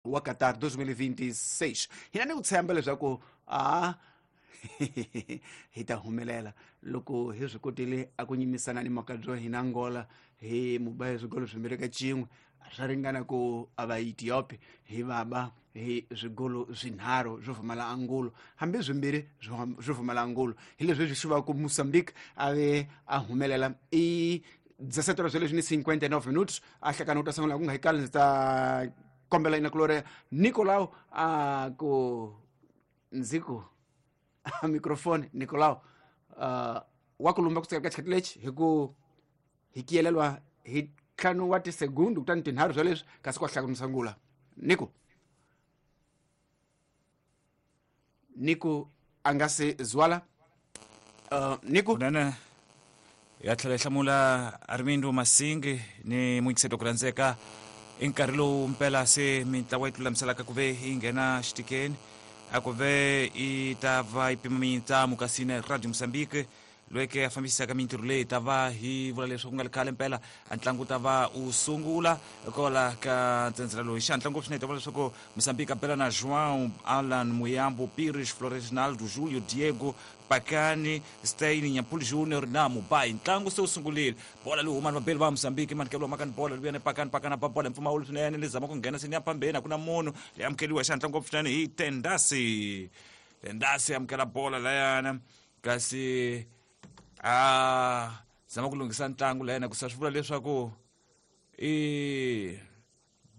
Wa Qatar 2026. Hina ni ku tshemba leswaku a hi ta humelela loko hi swi kotile a ku nyimisana ni makabyo hina Angola hi muba hi swigolo 2 ka 1, swa ringana ku a va Ethiopia hi vaba hi swigolo 3 swo pfumala angulo, hambi 2 swo pfumala angulo. Hi leswi swi va ku Mozambique a ve a humelela. I 17 horas leswi ni 59 minutos. A hlakana u ta sungula ku nga hi kali. Ndzi ta kombela ina kulore Nicolau a ku ndzi ku microphone Nicolau wa ku lumba ku ka xikhathi lexi hi ku hi kiyelelwa hi 5 wa tisegundu kutani 3 swa leswi kasi kwa hlaka sungula. Nico Nico a nga se zwala. Nico kunene ya tlhela yi hlamula Armindo Masingi ni muyingiseti ku rhandzeka. I nkarhi lowu mpela se mintlawa yi tilulamiselaka ku ve yi nghena xitikeni, a ku ve yi ta va yi pima mintsamu. Kasi na Radio Mozambique loyi ke a fambisaka mintirho leyi ta va hi vula leswaku nga ri khale mpela a ntlangu ta va u sungula kwala ka ntsendzela loyi xihatla ngopfu swinene. Ta vula leswaku Mozambique a bela na João Alan Muyambo, Pires Floresnaldo, Julio Diego Pakani, Stein Nyampul Junior na Mubai. Ntlangu se wu sungurile, bola leyi huma ni vabeli va Mozambique manikelo makani bola luya ni Pakani. Pakani a ba bola hi mpfumawulo swinene, li zama ku nghena seni ya phambeni, a ku na munhu. Leyi amukeliwa xihatla ngopfu swinene hi Tendasi. Tendasi amukela bola layana, kasi a zama ku lunghisa ntlangu layana, ku sa swi vula leswaku i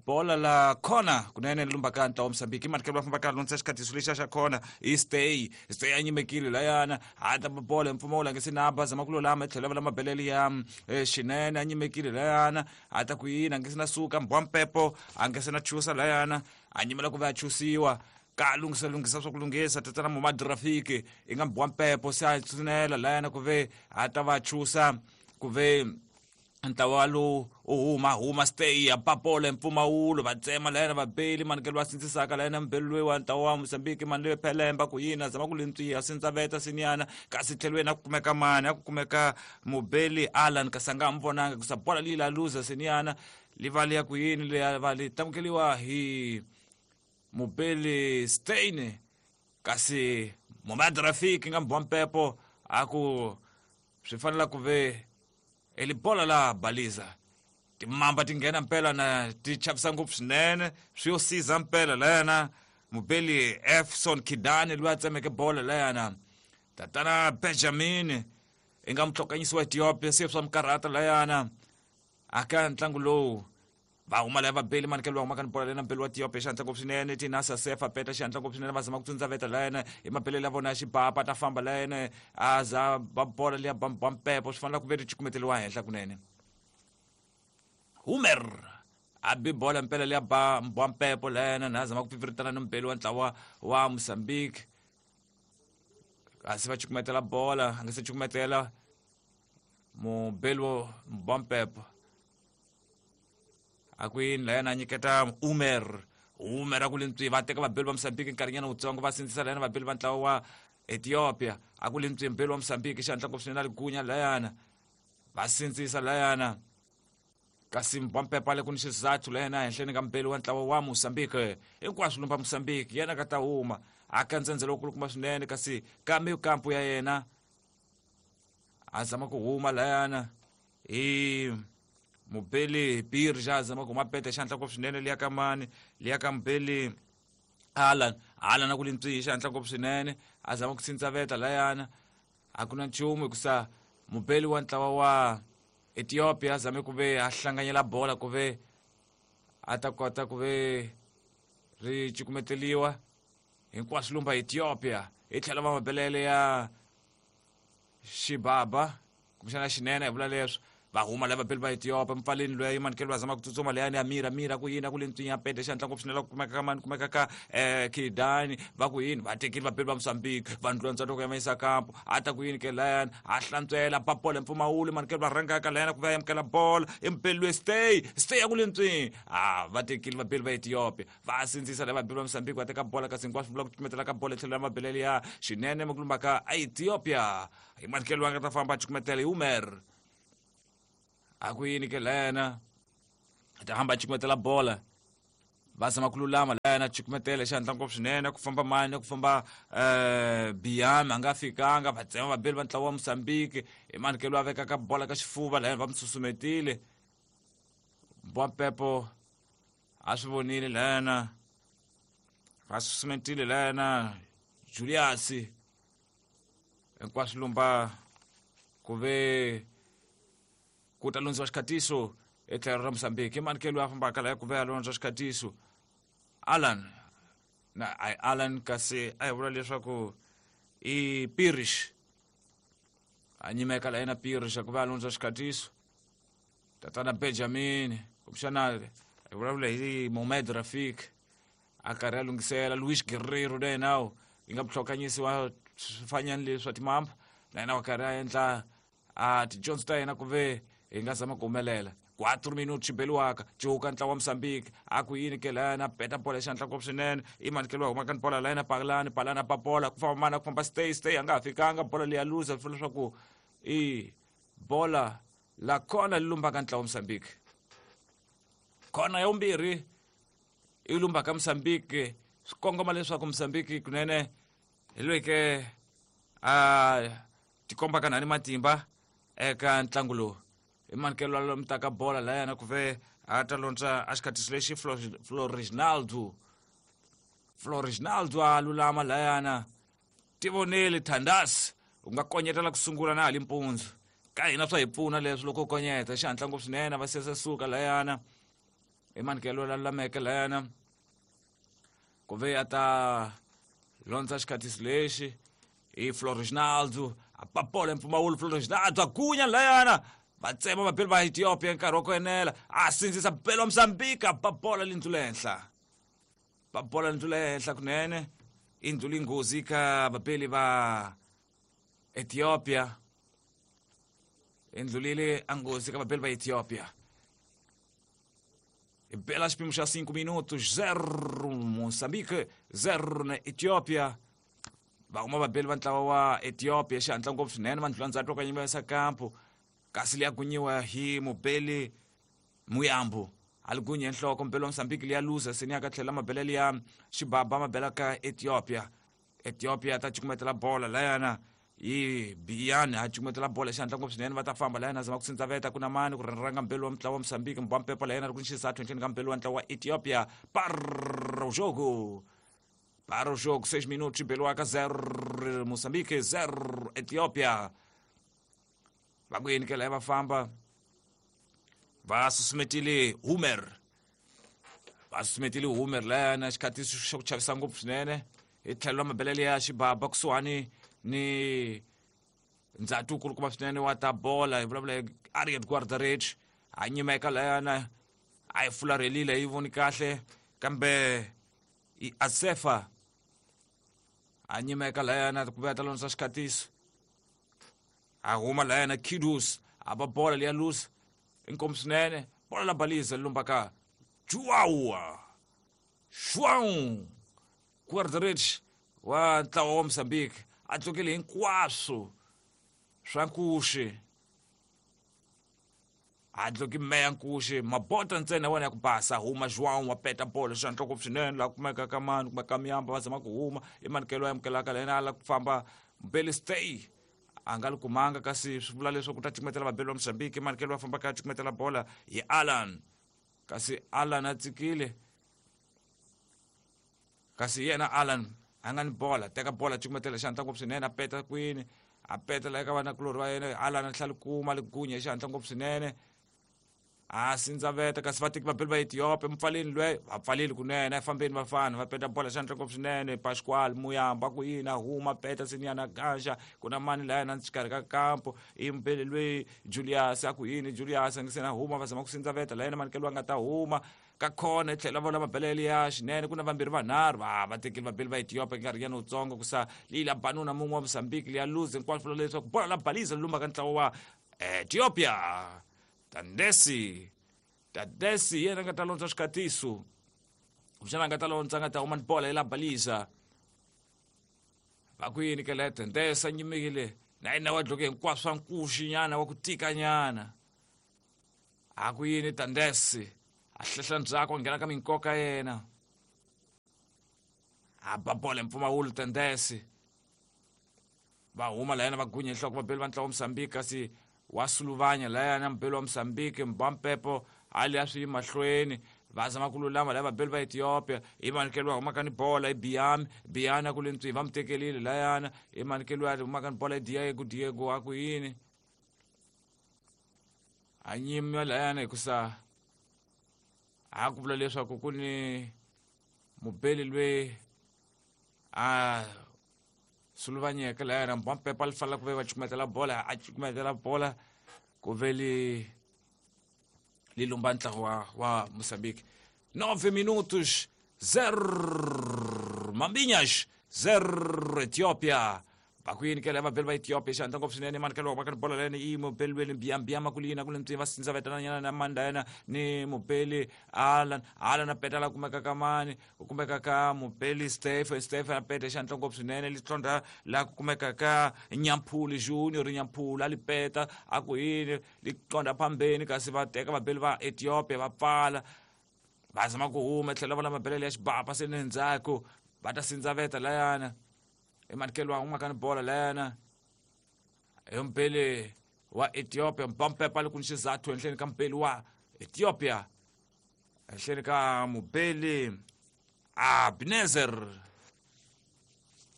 bola la khona kunene lumbaka ntlawa wa Mozambique. I manikelo va fambaka lonsa xikhatiso lexiya xa khona i Stay. Stay a nyimekile layana, a ta bola hi mpfumawulo, a nge se na ba, zama ku lulama i tlhela va la mabelele ya xinene, a nyimekile layana, a ta ku yini, a nge se na suka mbwa mpepo, a nge se na chusa layana, a nyimela ku va a chusiwa ka lunghisa lunghisa swa ku lunghisa. Tatana Momad Rafiki i nga mbwa mpepo se a tsunela layana ku ve a ta va chusa ku ve ntlawa lowu u huma huma. Stay ya papola mpfumawulo, va tsema layena vabeli manikelo va sindzisaka layena mubeli loyi wa ntlawa wa Mozambique mani loyi phelemba ku yini, a zama ku lintswiya sindzaveta sinyana, kasi tlhelweni a ku kumeka mani, a ku kumeka mubeli Alan, kasi a nga ha vonanga kusa bola leyi la luza sinyana li va liya ku yini leya va li tamukeliwa hi mubeli Stein, kasi Momad Rafiki nga mbwa mpepo a ku swi fanela ku ve elibola la baliza. Timamba ti nghena mpela na ti chavisa ngopfu swinene, swi yo siza mpela layana mubeli Efson Kidani loyi a tsemeke bola layana. Tatana Benjamin i nga mutlokanyisi wa Ethiopia se swa mikarhata layana aka ntlangu lowu. Va huma laya vabeli manikelo va humaka ni bola lena mbeli wa Ethiopia xihatla ngopfu swinene. Tinasa sefa peta xihatla ngopfu swinene, va zama ku tsundzaveta layena hi mabelelo ya vona ya xibapa, ta famba layena a za ba bola liya ba mpepo, swi fanele ku ve ri cukumeteliwa henhla kunene. Humer a bi bola mpela liya ba mbwa mpepo layena na zama ku pfipfiritana ni mbeli wa ntlawa wa Mozambique, kasi va cukumetela bola, a nga se cukumetela mubeli wa mbwa mpepo a ku yini layena a nyiketa Umer. Umer a ku lintswi, va teka vabeli va Mozambique nkarhinyana wutsongo, va sindzisa layena vabeli va ntlawa wa Ethiopia, a ku lintswi mbeli wa Mozambique xihatla ngopfu swinene a ligunya layana, va sindzisa layana, kasi mbwampepa le ku ni xizathu layena ehenhleni ka mbeli wa ntlawa wa Mozambique. Hinkwaswo lumba Mozambique yena ka ta huma aka ndzhendzelo wukulukumba swinene, kasi kambe kampu ya yena a zama ku huma layana hi mubeli Birja, zama ku huma pete xihatla ngopfu swinene liya ka mani, liya ka mubeli Alan. Alan a ku lintswihi xihatla ngopfu swinene, a zama ku tsintsaveta layana, a ku na nchumu hikusa mubeli wa ntlawa wa Ethiopia a zame ku ve a hlanganyela bola ku ve a ta kota ku ve ri cukumeteliwa. Hinkwaswo lumba Ethiopia hi tlhela va mabelele ya xibaba kumbexana xinene hi vula leswo. Va huma lava beli va Ethiopia mpfaleni loyi manikelo va zama ku tsutsuma leyani ya mira mira ku yini, a ku le ntswinya pete xihatla ngopfu swinene, ku kumeka ka mani, kumeka ka Kidani. Va ku yini, va tekile vabeli va Mozambique va ndlondza loko ya mayisa kampo, a ta ku yini ke layani, a hlantswela ba bola mpfumawulo, manikelo va rhangaka layani ku va amukela bola i mubeli loyi Stay. Stay a ku le ntswini, a va tekile vabeli va Ethiopia va sindzisa lava vabeli va Mozambique va teka bola, kasi hinkwaswo vula ku cukumetela ka bola tlhelo ya mabelele ya xinene makulumba ka Ethiopia hi manikelo va nga ta famba cukumetela hi Umer, a ku yini ke lena ta hamba cukumetela bola. Va zama ku lulama laya cukumetela xihatla ngopfu swinene ku famba mani ku famba Biami a nga fikanga va tsema vabeli va ntlawa wa Mozambique hi mani ke loyi a vekaka bola ka xifuva laya va mi susumetile Mbwampepo a swi vonile layana va susumetile layana Julius hinkwaswo lumba ku ve ku ta lundziwa xikhatiso etlhelo ra Mozambique i mani ke loyi a fambaka laya ku ve a londza xikhatiso Alan na ai Alan kasi a hi vula leswaku i Pirish a nyimeka la yena Pirish ku ve a londza xikhatiso tatana Benjamin kumbexana hi vulavula hi Mohamed Rafik a karhi a lunghisela Luis Guerrero na yena yi nga vutlhokanyisi wa swifanyani leswi swa timamba na yena wa karhi a endla a tidyondzo ta yena ku ve hi nga zama ku humelela 4 minutos xibeliwaka cuka ntlawa wa Mozambique a ku yini ke layana peta bola xandla ngopfu swinene i mani ke loyi humaka ni bola layana palani palani a bola ku famba mana ku famba stay stay a nga ha fikanga bola leyi a luza swi leswaku i bola la kona li lumbaka ntlawa wa Mozambique kona ya vumbirhi i lumbaka Mozambique swi kongoma leswaku Mozambique kunene hi loyi ke a tikombaka nani matimba eka ntlangu lowu i manikelo lomu mutaka bola layana ku ve a ta londza a xikhatiso lexi Floriginaldo a lulama layana tivoneli Thandas u nga konyetela ku sungula na hali mpundzu ka hina swa hi pfuna leswi loko u konyeta xihatla ngopfu swinene va sese suka layana i manikelo la lulameke layana ku ve a ta londza xikhatiso lexi i Floriginaldo a papola mpfumawulo Floriginaldo a gunya layana va tsema vabeli va Ethiopia nkarhi wa ku enela a sindzisa belo wa Mozambique a papola lindlu le henhla papola lindlu le henhla kunene i ndlu linghozi ka vabeli va Ethiopia i ndlulile a nghozi ka vabeli va Ethiopia i bela xipimo xa 5 minutos 0 Mozambique 0 na Ethiopia va huma vabeli va ntlawa wa Ethiopia xihatla ngopfu swinene va ndlula ndzhaku ka nyimesa kampo kasi liya gunyiwa hi mubeli Muyambo a li gunye nhloko mubeli wa Mozambique liya luza seni ya ka tlhela mabele liya xibaba mabela ka Ethiopia Ethiopia ta cukumetela bola layana yi Biyani a cukumetela bola xihatla ngopfu swinene va ta famba layana zama ku sindzaveta ku na mani ku ranga mbeli wa mutlawa wa Mozambique Mbwampepo layana ri ku nxisa tlhentlheni ka mbeli wa ntlawa wa Ethiopia para o jogo para o jogo 6 minutos xibeliwaka 0 Mozambique 0 Ethiopia va ku yini ke laya va famba va susumetile Humer va susumetile Humer layana xikhati xa ku chavisa ngopfu swinene hi tlhelo ra mabelele ya xibaba kusuhani ni ndzati wu kulukumba swinene wa ta bola hi vulavula hi Ariet Guardarich a nyimeka layana a yi fularhelile yi voni kahle kambe i Asefa a nyimeka layana ku vuya ta londzisa xikhatiso a huma layana Kidus a ba bola liya lusa inkomu swinene bola la baliza lumbaka Joao João Guardarich wa ntlawa wa Mozambique a tlukile hinkwaswo swa nkuxi a dloki meya nkuxi mabota ntsena wena ya ku basa huma João wa peta bolo xandla ngopfu swinene laha kumeka ka mani kumeka miyamba va zama ku huma i manikelo ya amukelaka la yena a la ku famba Mbeli stay a nga li kumanga kasi swi vula leswaku ta cukumetela vabeli va Mozambique i manikelo va fambaka a cukumetela bola hi Alan kasi Alan a tsikile kasi yena Alan a nga ni bola teka bola cukumetela xihatla ngopfu swinene a peta kwini a peta la eka vanakulorhi va yena Alan a tlhela kuma li gunya hi xihatla ngopfu swinene a sindzaveta kasi vateki vabeli va Ethiopia mupfaleni lwe va pfaleli kunene a fambeni vafana va peta bola xihatla ngopfu swinene Pascual Muyamba ku yini a huma peta siniyana ganja ku na mani laya na xikarhi ka kampo i mubeli lweyi Julius a ku yini Julius a nge se na huma va zama ku sindzaveta la yena manikelo a nga ta huma ka khona hi tlhela vona mabelele ya xinene ku na vambirhi vanharhu va va tekile vabeli va Ethiopia nkarhi nyana wutsongo ku sa leyi la banuna mun'we wa Mozambique liya luze hinkwaswo vula leswaku bola la baliza lumba ka ntlawa wa Ethiopia Tandesi yena nga ta londza xikhatiso kumbexana a nga ta londza a nga ta huma ni bola yi la baliza va ku yini ke la Tandesi a nyimile na yena wa dloke hinkwaswo swa nkuxi nyana wa ku tika nyana a ku yini Tandesi A hlehla ndzhaku a nghena ka minkoka yena. A ba bola hi mpfumawulo Tendesi. Va huma layana va gunya nhloko vabeli va ntlawa wa Mozambique, kasi wa suluvanya layana mubeli wa Mozambique Mbampepo a li a swi yi mahlweni. Va zama ku lulama laya vabeli va Ethiopia, i manikelo wa humaka ni bola i Biami, Biani a ku le ntswi va mu tekelile layana, i manikelo wa humaka ni bola i Diego, Diego a ku yini a nyima layana hikusa a ku vula leswaku ku ni mubeli loyi a suluvanyeke layana Mbampepo a li fanela ku ve va cukumetela bola, a cukumetela bola ku ve li li lumba ntlawa wa Mozambique. 9 minutos, 0 Mambinhas, 0 Ethiopia. Va ku yini ke lava vabeli va Ethiopia xandla ngopfu swinene manikelo wa ka bola lena i mubeli lweni Mbiyambiyama ku lina ku le va sindza vetana nyana na manda yena ni mubeli Alan, Alan a peta la kumeka ka mani, ku kumeka ka mubeli Stephen, Stephen a peta xandla ngopfu swinene li tlondra la ku kumeka ka Nyampuli Junior, Nyampuli a li peta a ku yini li qonda phambeni, kasi va teka vabeli va Ethiopia va pfala va zama ku huma tlhela va lama belele ya xibapa se ni ndzhaku va ta sindzaveta layana i manikelo wa humaka ni bola layana hi mubeli wa Ethiopia Mbampepa li ku ni xizathu henhleni ka mubeli wa Ethiopia henhleni ka mubeli Abnezer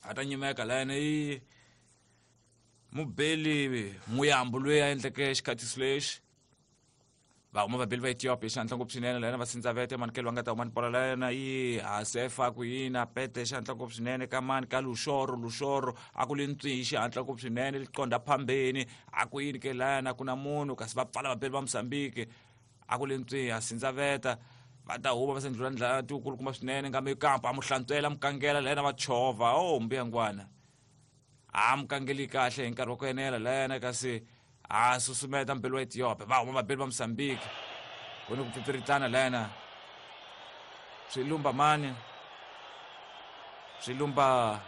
a ta nyimeka layana i mubeli Muyambo loyi a endleke xikhatiso lexi. Va huma vabeli va Ethiopia xandla ngopfu swinene layana va sindzavete manikelo va nga ta huma ni bola layana i Hasefa ku yini a pete xandla ngopfu swinene ka mani ka Luxoro, Luxoro a ku li ntswi xihatla ngopfu swinene li qonda phambeni a ku yini ke layana ku na munhu kasi va pfala vabeli va Mozambique a ku li ntswi a sindzaveta va ta huma va sendlula ndlela tikulukumba swinene nga mikampa a mu hlantswela mukangela layana va chovha o mbuyangwana a mukangeli kahle hi nkarhi wa ku enela layana kasi a susumeta mubeli wa Ethiopia va huma vabeli va Mozambique ku ni ku pfipfiritana layana swi lumba mani swi lumba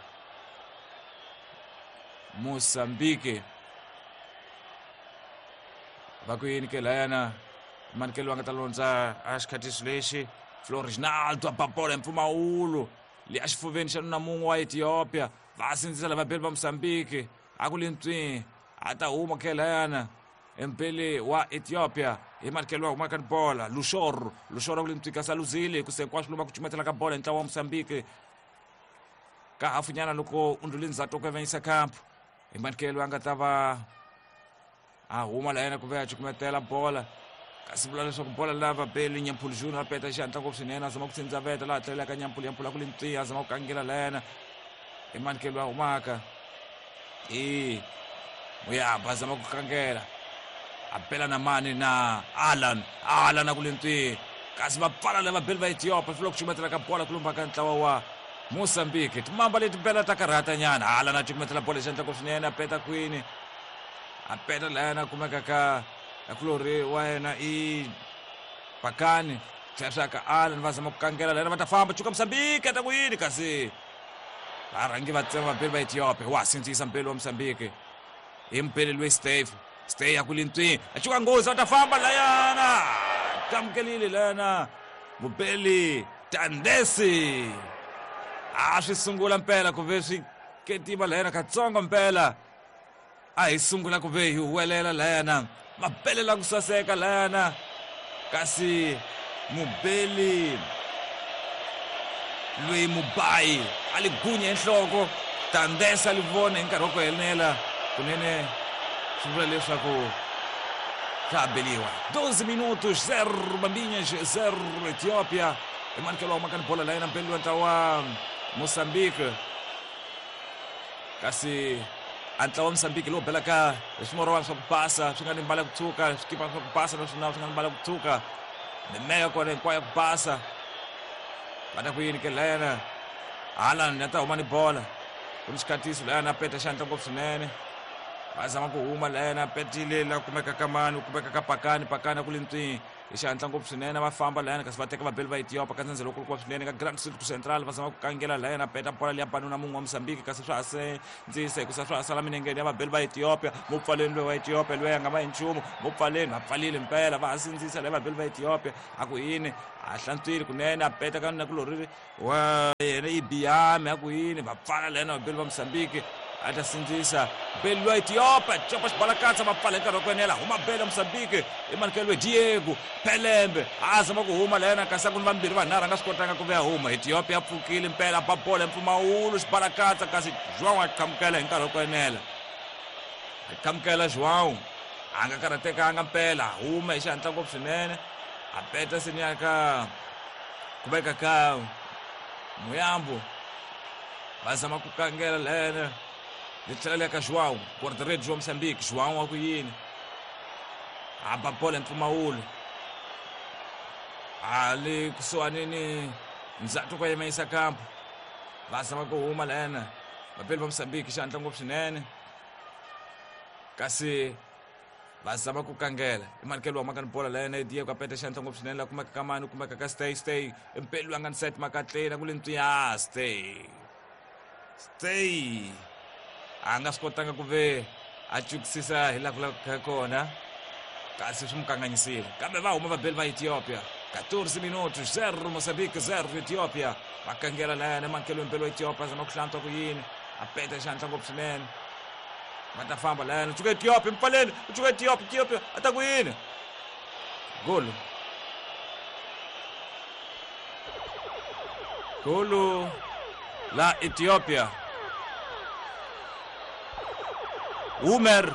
Mozambique va ku yini ke layana manikelo va nga ta londza a xikhatiso lexi Florinaldo a ba bola hi mpfumawulo le a xifuveni xa nuna mun'we wa Ethiopia va sindzisa lava vabeli va Mozambique a ku le ntswi a ta huma ke layana mpele wa Ethiopia hi manikelo wa humaka ni bola Luxoro, Luxoro ku le ntswi kasi a luzile hikusa hinkwaswo lomu ku cumetela ka bola hi ntlawa wa Mozambique ka hafunyana loko u ndlule ndzhaku ku avanyisa kampu hi manikelo a nga ta va a huma layena ku ve a cukumetela bola kasi vula leswaku bola lava beli Nyampulu Junior a peta xihatla ngopfu swinene a zama ku tsindzaveta laha tlelelaka Nyampulu, Nyampulu a ku le ntswi a zama ku kangela layena hi manikelo a humaka i Muyamba a zama ku kangela a bela na mani na Alan, Alan a ku le ntswi kasi va pfala lava beli va Ethiopia swi ku cukumetela ka bola ku lumba ka ntlawa wa Mozambique timamba leti bela ta karhata nyana Alan a cukumetela bola xihatla ngopfu swinene a peta kwini a peta layana a kumeka ka kulori wa yena i Pakani tlhela swi ya ka Alan va zama ku kangela layana va ta famba chuka Mozambique ta ku yini kasi va rhangi va tsema vabeli va Ethiopia wa sindzisa mubeli wa Mozambique hi mubeli loyi Steve Steve ya ku le ntswini a chuka nghozi va ta famba layana tamukelile layana mubeli Tandesi a swi sungula mpela ku ve swi ketima layana katsongo mpela a hi sungula ku ve hi huwelela layana mabelela ku saseka layana kasi mubeli loyi mubayi a li gunya enhloko Tandesa li vona hi nkarhi wa ku enela kunene swi vula leswaku swa ha beliwa 12 minutos 0 Bambinhas 0 Ethiopia i manikelo wa humaka ni bola layena mubeli wa ntlawa wa Mozambique kasi a ntlawa wa Mozambique lowu belaka hi swimorwana swa ku basa swi nga ni mbala ya ku tshuka swikipa swa ku basa naswona swi nga ni mbala ya ku tshuka mimeya ya kona hinkwayo ya ku basa va ta ku yini ke layana Haaland a ta huma ni bola ku ni xikhatiso layana a peta xandla ngopfu swinene va zama ku huma layana a petile la kumeka ka mani ku kumeka ka Pakani, Pakani a ku le ntswini Hi xihatla ngopfu swinene va famba layani, kasi va teka vabeli va Ethiopia ka ndzhendzelo kulukumba swinene ka Grand Circuit Central, va zama ku kangela layani, a peta bola liya banuna mun'we wa Mozambique, kasi swa ha sindzisa hikusa swa ha sala minengeni ya vabeli va Ethiopia. Mupfaleni loyi wa Ethiopia loyi a nga va hi nchumu, mupfaleni va pfalile mpela, va ha sindzisa laya vabeli va Ethiopia. A ku yini, a hlantswile kunene, a peta ka nakulorhi wa yena Ibiame, a ku yini, va pfala layani vabeli va Mozambique. A ta sindzisa beli lwa Ethiopia, copa xibalakatsa, va pfala hi nkarhi wa ku enela. Huma beli ya Mozambique, i manikelo Diego Pelembe, a zama ku huma layena, kasi a ku ni vambirhi vanharhu a nga swi kotanga ku ve a huma. Ethiopia ya pfukile mpela, ba bola hi mpfumawulo, xibalakatsa, kasi João a qhamukela hi nkarhi wa ku enela. A qhamukela João, a nga karhatekanga mpela, a huma hi xihatla ngopfu swinene, a peta seniya ka ku veka ka Muyambo. Va zama ku kangela lene li tlhela li ya ka João, guarda-redes wa Mozambique. João wa ku yini, a ba bola hi mpfumawulo, a le kusuhani ni ndzhaku ka yima kampo. Va zama ku huma lena vapeli va Mozambique xihatla ngopfu swinene, kasi va zama ku kangela. I manikelo wa maka ni bola lena Diego, a peta xihatla ngopfu swinene, la kumeka ka mani, kumeka ka Stay. Stay impeli loyi a nga ni set makatleni, a ku le ntswiya Stay. Stay a nga swi kotanga ku ve a cukisisa hi laha ku lavekaka kona, kasi swi n'wi kanganyisile. Kambe va huma vabeli va Ethiopia. 14 minutos, 0 Mozambique, 0 Ethiopia. Va kangela layani mankelo mpelo wa Ethiopia, zama ku hlantswa ku yini, a peta xihatla ngopfu swinene. Va ta famba layani, u cuka Ethiopia mpfaleni, u cuka Ethiopia, Ethiopia a ta ku yini, golo golo la Ethiopia. Umer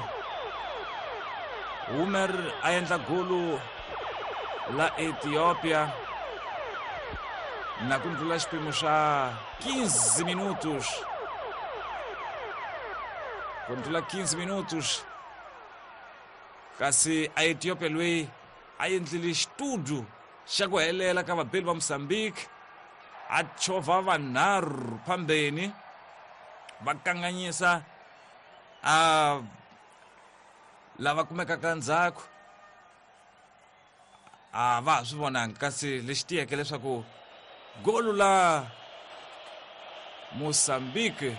a endla golo la Ethiopia na ku ndlula xipimo xa 15 minutos, ku ndlula 15 minutos, kasi a Ethiopia loyi a endlile xitudu xa ku helela ka vabeli va Mozambique, a chovha vanharhu phambeni, va kanganyisa a lava kumekaka ndzhaku, a va ha swi vonanga. Kasi lexi tiyeke leswaku golu la Mozambique,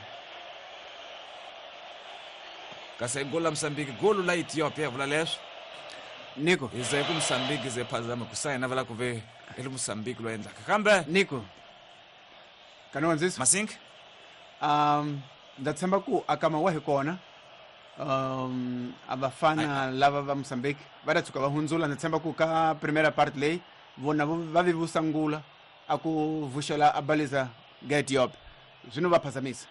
kasi golu la Mozambique, golu la Ethiopia, vula leswo Nico hi ze ku Mozambique ze phazama ku sayina vula ku ve i le Mozambique loyi endlaka kambe Nico kana wandzisa Masink. Ndza tshemba ku akama wa hi kona, a vafana lava va Mozambique va ta tshuka va hundzula. Ndza tshemba ku ka primera part leyi vona va vi vusangula a ku vuxela a baliza ga Ethiopia, zwino va phazamisa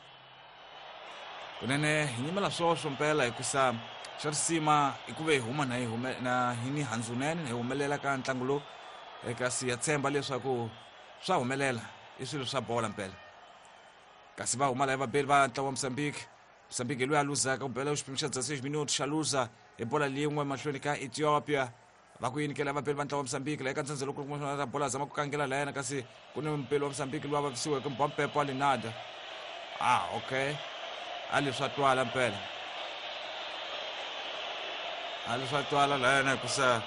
kunene. Hi nyimela swoswo mpela, hikusa xa risima i ku ve hi huma na hi hume na hi ni handzunene hi humelela ka ntlangu lowu, kasi ya tshemba leswaku swa humelela, i swilo swa bola mpela. Kasi va huma laha vabeli va ntlawa wa Mozambique. Mozambique loyi a luzaka ku bela xipimo xa 16 minutos, xa luza hi bola lin'we mahlweni ka Ethiopia. Va ku yinikela vabeli va ntlawa wa Mozambique laha eka ndzhendzelo loko ta bola, zama ku kangela layena, kasi ku ni mupeli wa Mozambique loyi a vavisiweke, Mbompepo Alinada. Okay, a leswi swa twala mpela, a leswi swa twala layena, hikusa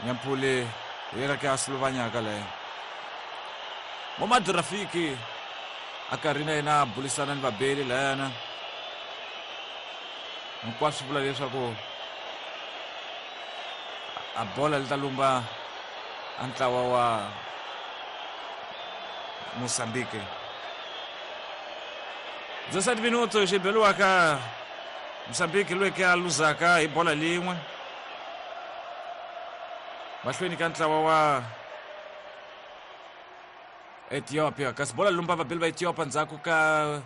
Nyamphule hi yena ke a suluvanyaka leyo. Momad Rafiki a karhi na yena a bulisana ni vabeli layana, hinkwaswo vula leswaku a bola li ta lumba a ntlawa wa Mozambique. 17 minutos xi beliwaka Mozambique loyi ke a luzaka hi bola lin'we mahlweni ka ntlawa wa Ethiopia, kasi bola lumba vabeli va Ethiopia ndzhaku ka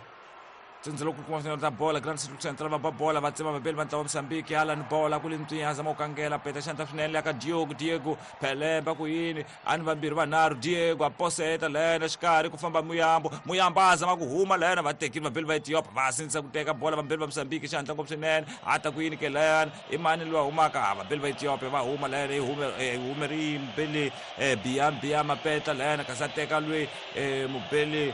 tsendzelo ku kuma ta bola. Grand Central va ba bola, va tsema vabeli va ntlawa wa Mozambique. Alan bola ku le ntswinya, zama ku kangela, peta xandla swinene le ka Diego. Diego Pelemba ku yini, a ni vambirhi vanharhu, Diego a poseta lena xikarhi, ku famba Muyambo. Muyambo a zama ku huma lena, va tekile vabeli va Ethiopia, va sindzisa ku teka bola vambeli va Mozambique xihatla ngopfu swinene. A ta ku yini ke layani, i mani loyi a humaka? A vabeli va Ethiopia va huma lena, yi hume ri mubeli Biam. Biam a peta lena, kasi a teka loyi mubeli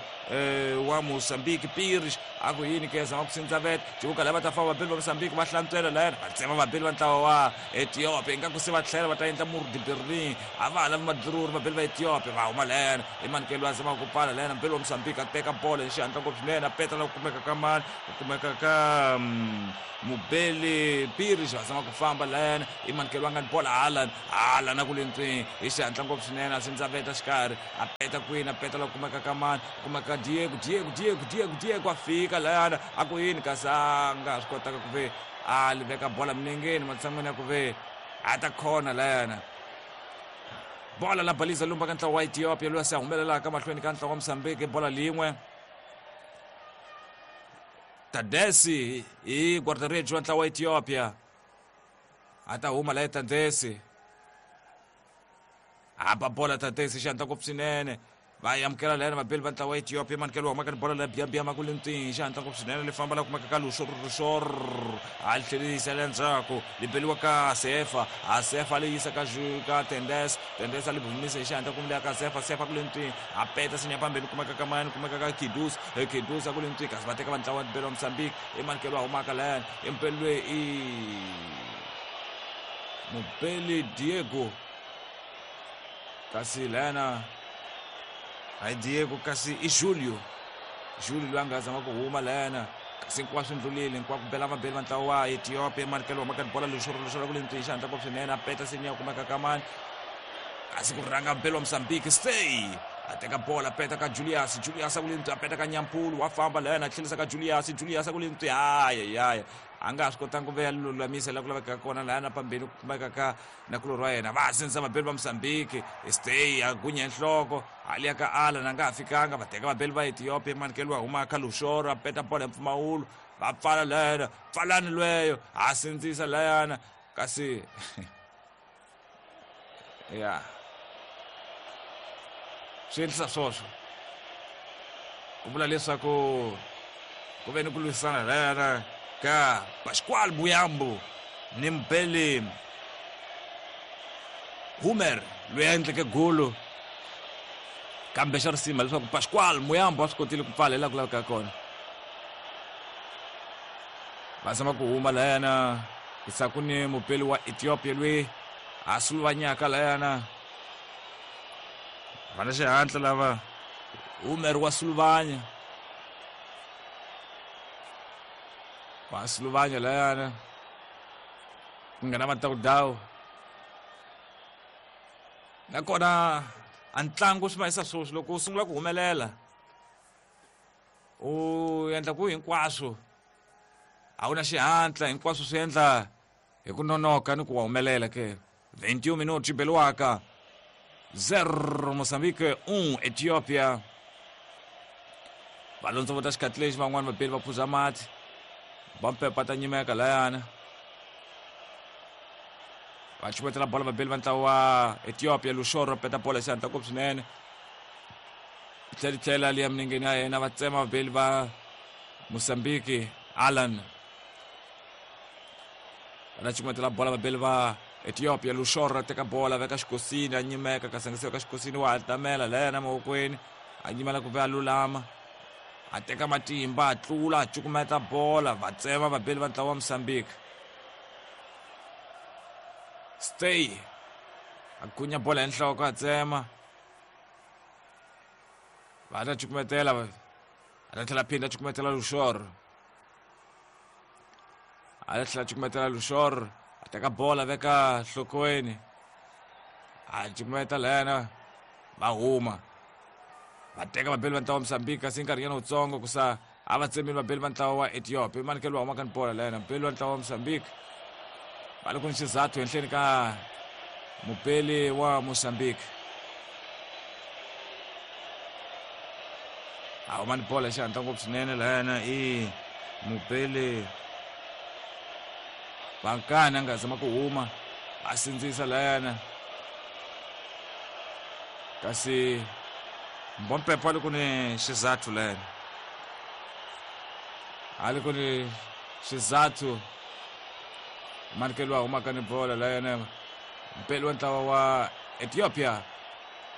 wa Mozambique Pires, a A ku yini ke zama ku sindza vet civuka lava ta famba vabeli va Mozambique va hlantswela layana va tsema vabeli va ntlawa wa Ethiopia ingaku se va tlhela va ta endla mur de Berlin a va ha lavi madlururi vabeli va Ethiopia va huma layana i manikelo a zamaka ku pfala layana mubeli wa Mozambique a teka bolo hi xihatla ngopfu swinene a peta la ku kumeka ka mani ku kumeka ka mubeli Pires va zama ku famba layana i manikelo a nga ni bola Haaland Haaland a ku le ntswini hi xihatla ngopfu swinene a sindzaveta xikarhi a peta kwini a peta la ku kumeka ka mani ku kumeka ka Diego Diego Diego Diego Diego a fika layana a ku yini kasi a nga ha swi kotaka ku ve a li veka bola milengeni matshan'wini ya ku ve a ta khona layana bola la baliza lumba ka ntlawa wa Ethiopia loyi a se a humelelaka mahlweni ka ntlawa wa Mozambique bola lin'we Tadesi hi guarda-redes wa ntlawa wa Ethiopia a ta huma la Tadesi a ba bola Tadesi xi hatla ngopfu swinene va amukela layani vabeli va ntlawa wa Ethiopia manikelo wa humaka ni bola la biya ma ku le ntwini xi hatla ngopfu swinene li famba la kumeka ka luxor luxor a li tlhelerisa le ndzhaku li beliwa ka Sefa a Sefa li yisa ka ka Tendes Tendes a li humisa hi xihatla kumbe ka Sefa Sefa ku le ntwini a peta sinya phambili kumeka ka mani kumeka ka Kidus Kidus a ku le ntwini kasi va teka va ntlawa wa beli wa Mozambique i manikelo wa humaka layani i mubeli loyi i mubeli Diego kasi layana hayi Diego kasi i Julio Julio loyi a nga zama ku huma layana kasi hinkwaswo ndlulile hinkwako bela vabeli va ntlawa wa Ethiopia manikelo wa maka bola lexoro lexoro ku le ntwini xihatla ngopfu swinene a peta seniya kumeka ka mani kasi ku rhanga mbeli wa Mozambique stay a teka bola a peta ka Julius Julius a ku le ntwi a peta ka Nyampulu wa famba layana a tlhelisa ka Julius Julius a ku le ntwi haya haya a nga ha swi kotanga ku ve ya lulamisa laha ku lavekaka kona layana pambeni ku kumeka ka nakulorhi wa yena va sindzisa vabeli va Mozambique stay a gunya nhloko hali ya ka Alan a nga ha fikanga va teka vabeli va Ethiopia manikelo wa huma ka Luxoro a peta bola hi mpfumawulo va pfala layana pfalani lweyo a sindzisa layana kasi ya swi endlisa swoswo ku vula leswaku ku ve ni ku lwisana layana ka Pascual Buyambu ni Mbele Humer loyi a endleke golo kambe xa risima leswaku Pascual Muyambo a swi kotile ku pfala hi laha ku lavekaka kona va zama ku huma layana ku ku ni mupeli wa Ethiopia loyi a suluvanyaka layana va na xihatla lava Humer wa suluvanya wa suluvanya layana ku nghena matawudawu nakona a ntlangu swi mahisa swoswi loko u sungula ku humelela u endla ku hinkwaswo a wu na xihatla hinkwaswo swi endla hi ku nonoka ni ku wa humelela ke 21 minutos beliwaka 0 Mozambique 1 Ethiopia va londzovota xikhathi lexi van'wani vabeli va phuza mati va mpepa ta nyimeka layana va chumetela bola vabeli va ntlawa wa Ethiopia Luxoro peta bola xihatla ngopfu swinene tlhela tlhela liya milengeni ya yena va tsema vabeli va Mozambique Alan va ta chumetela bola vabeli va Ethiopia Luxoro teka bola veka xikosini a nyimeka kasi a nga se veka xikosini wa ha tamela layana mavokweni a nyimela ku ve a lulama a teka matimba a tlula a cukumeta bola va tsema vabeli va ntlawa wa Mozambique stay a gunya bola hi nhloko a tsema va ta cukumetela a ta tlhela phinda a cukumetela Luxoro a ta tlhela cukumetela Luxoro a teka bola veka nhlokweni a cukumeta layana va huma va teka vabeli va ntlawa wa Mozambique kasi nkarhinyana wutsongo ku sa a va tsemile vabeli va ntlawa wa Ethiopia manikelo wa humaka ni bola layana mubeli wa ntlawa wa Mozambique va le ku ni xizathu henhleni ka mubeli wa Mozambique a huma ni bola xihatla ngopfu swinene layana i mubeli Bankani a nga zama ku huma a sindzisa layana kasi Mbompepo a le ku ni xizathu layana a le ku ni xizathu manikelo a humaka ni bola layana mpeli wa ntlawa wa Ethiopia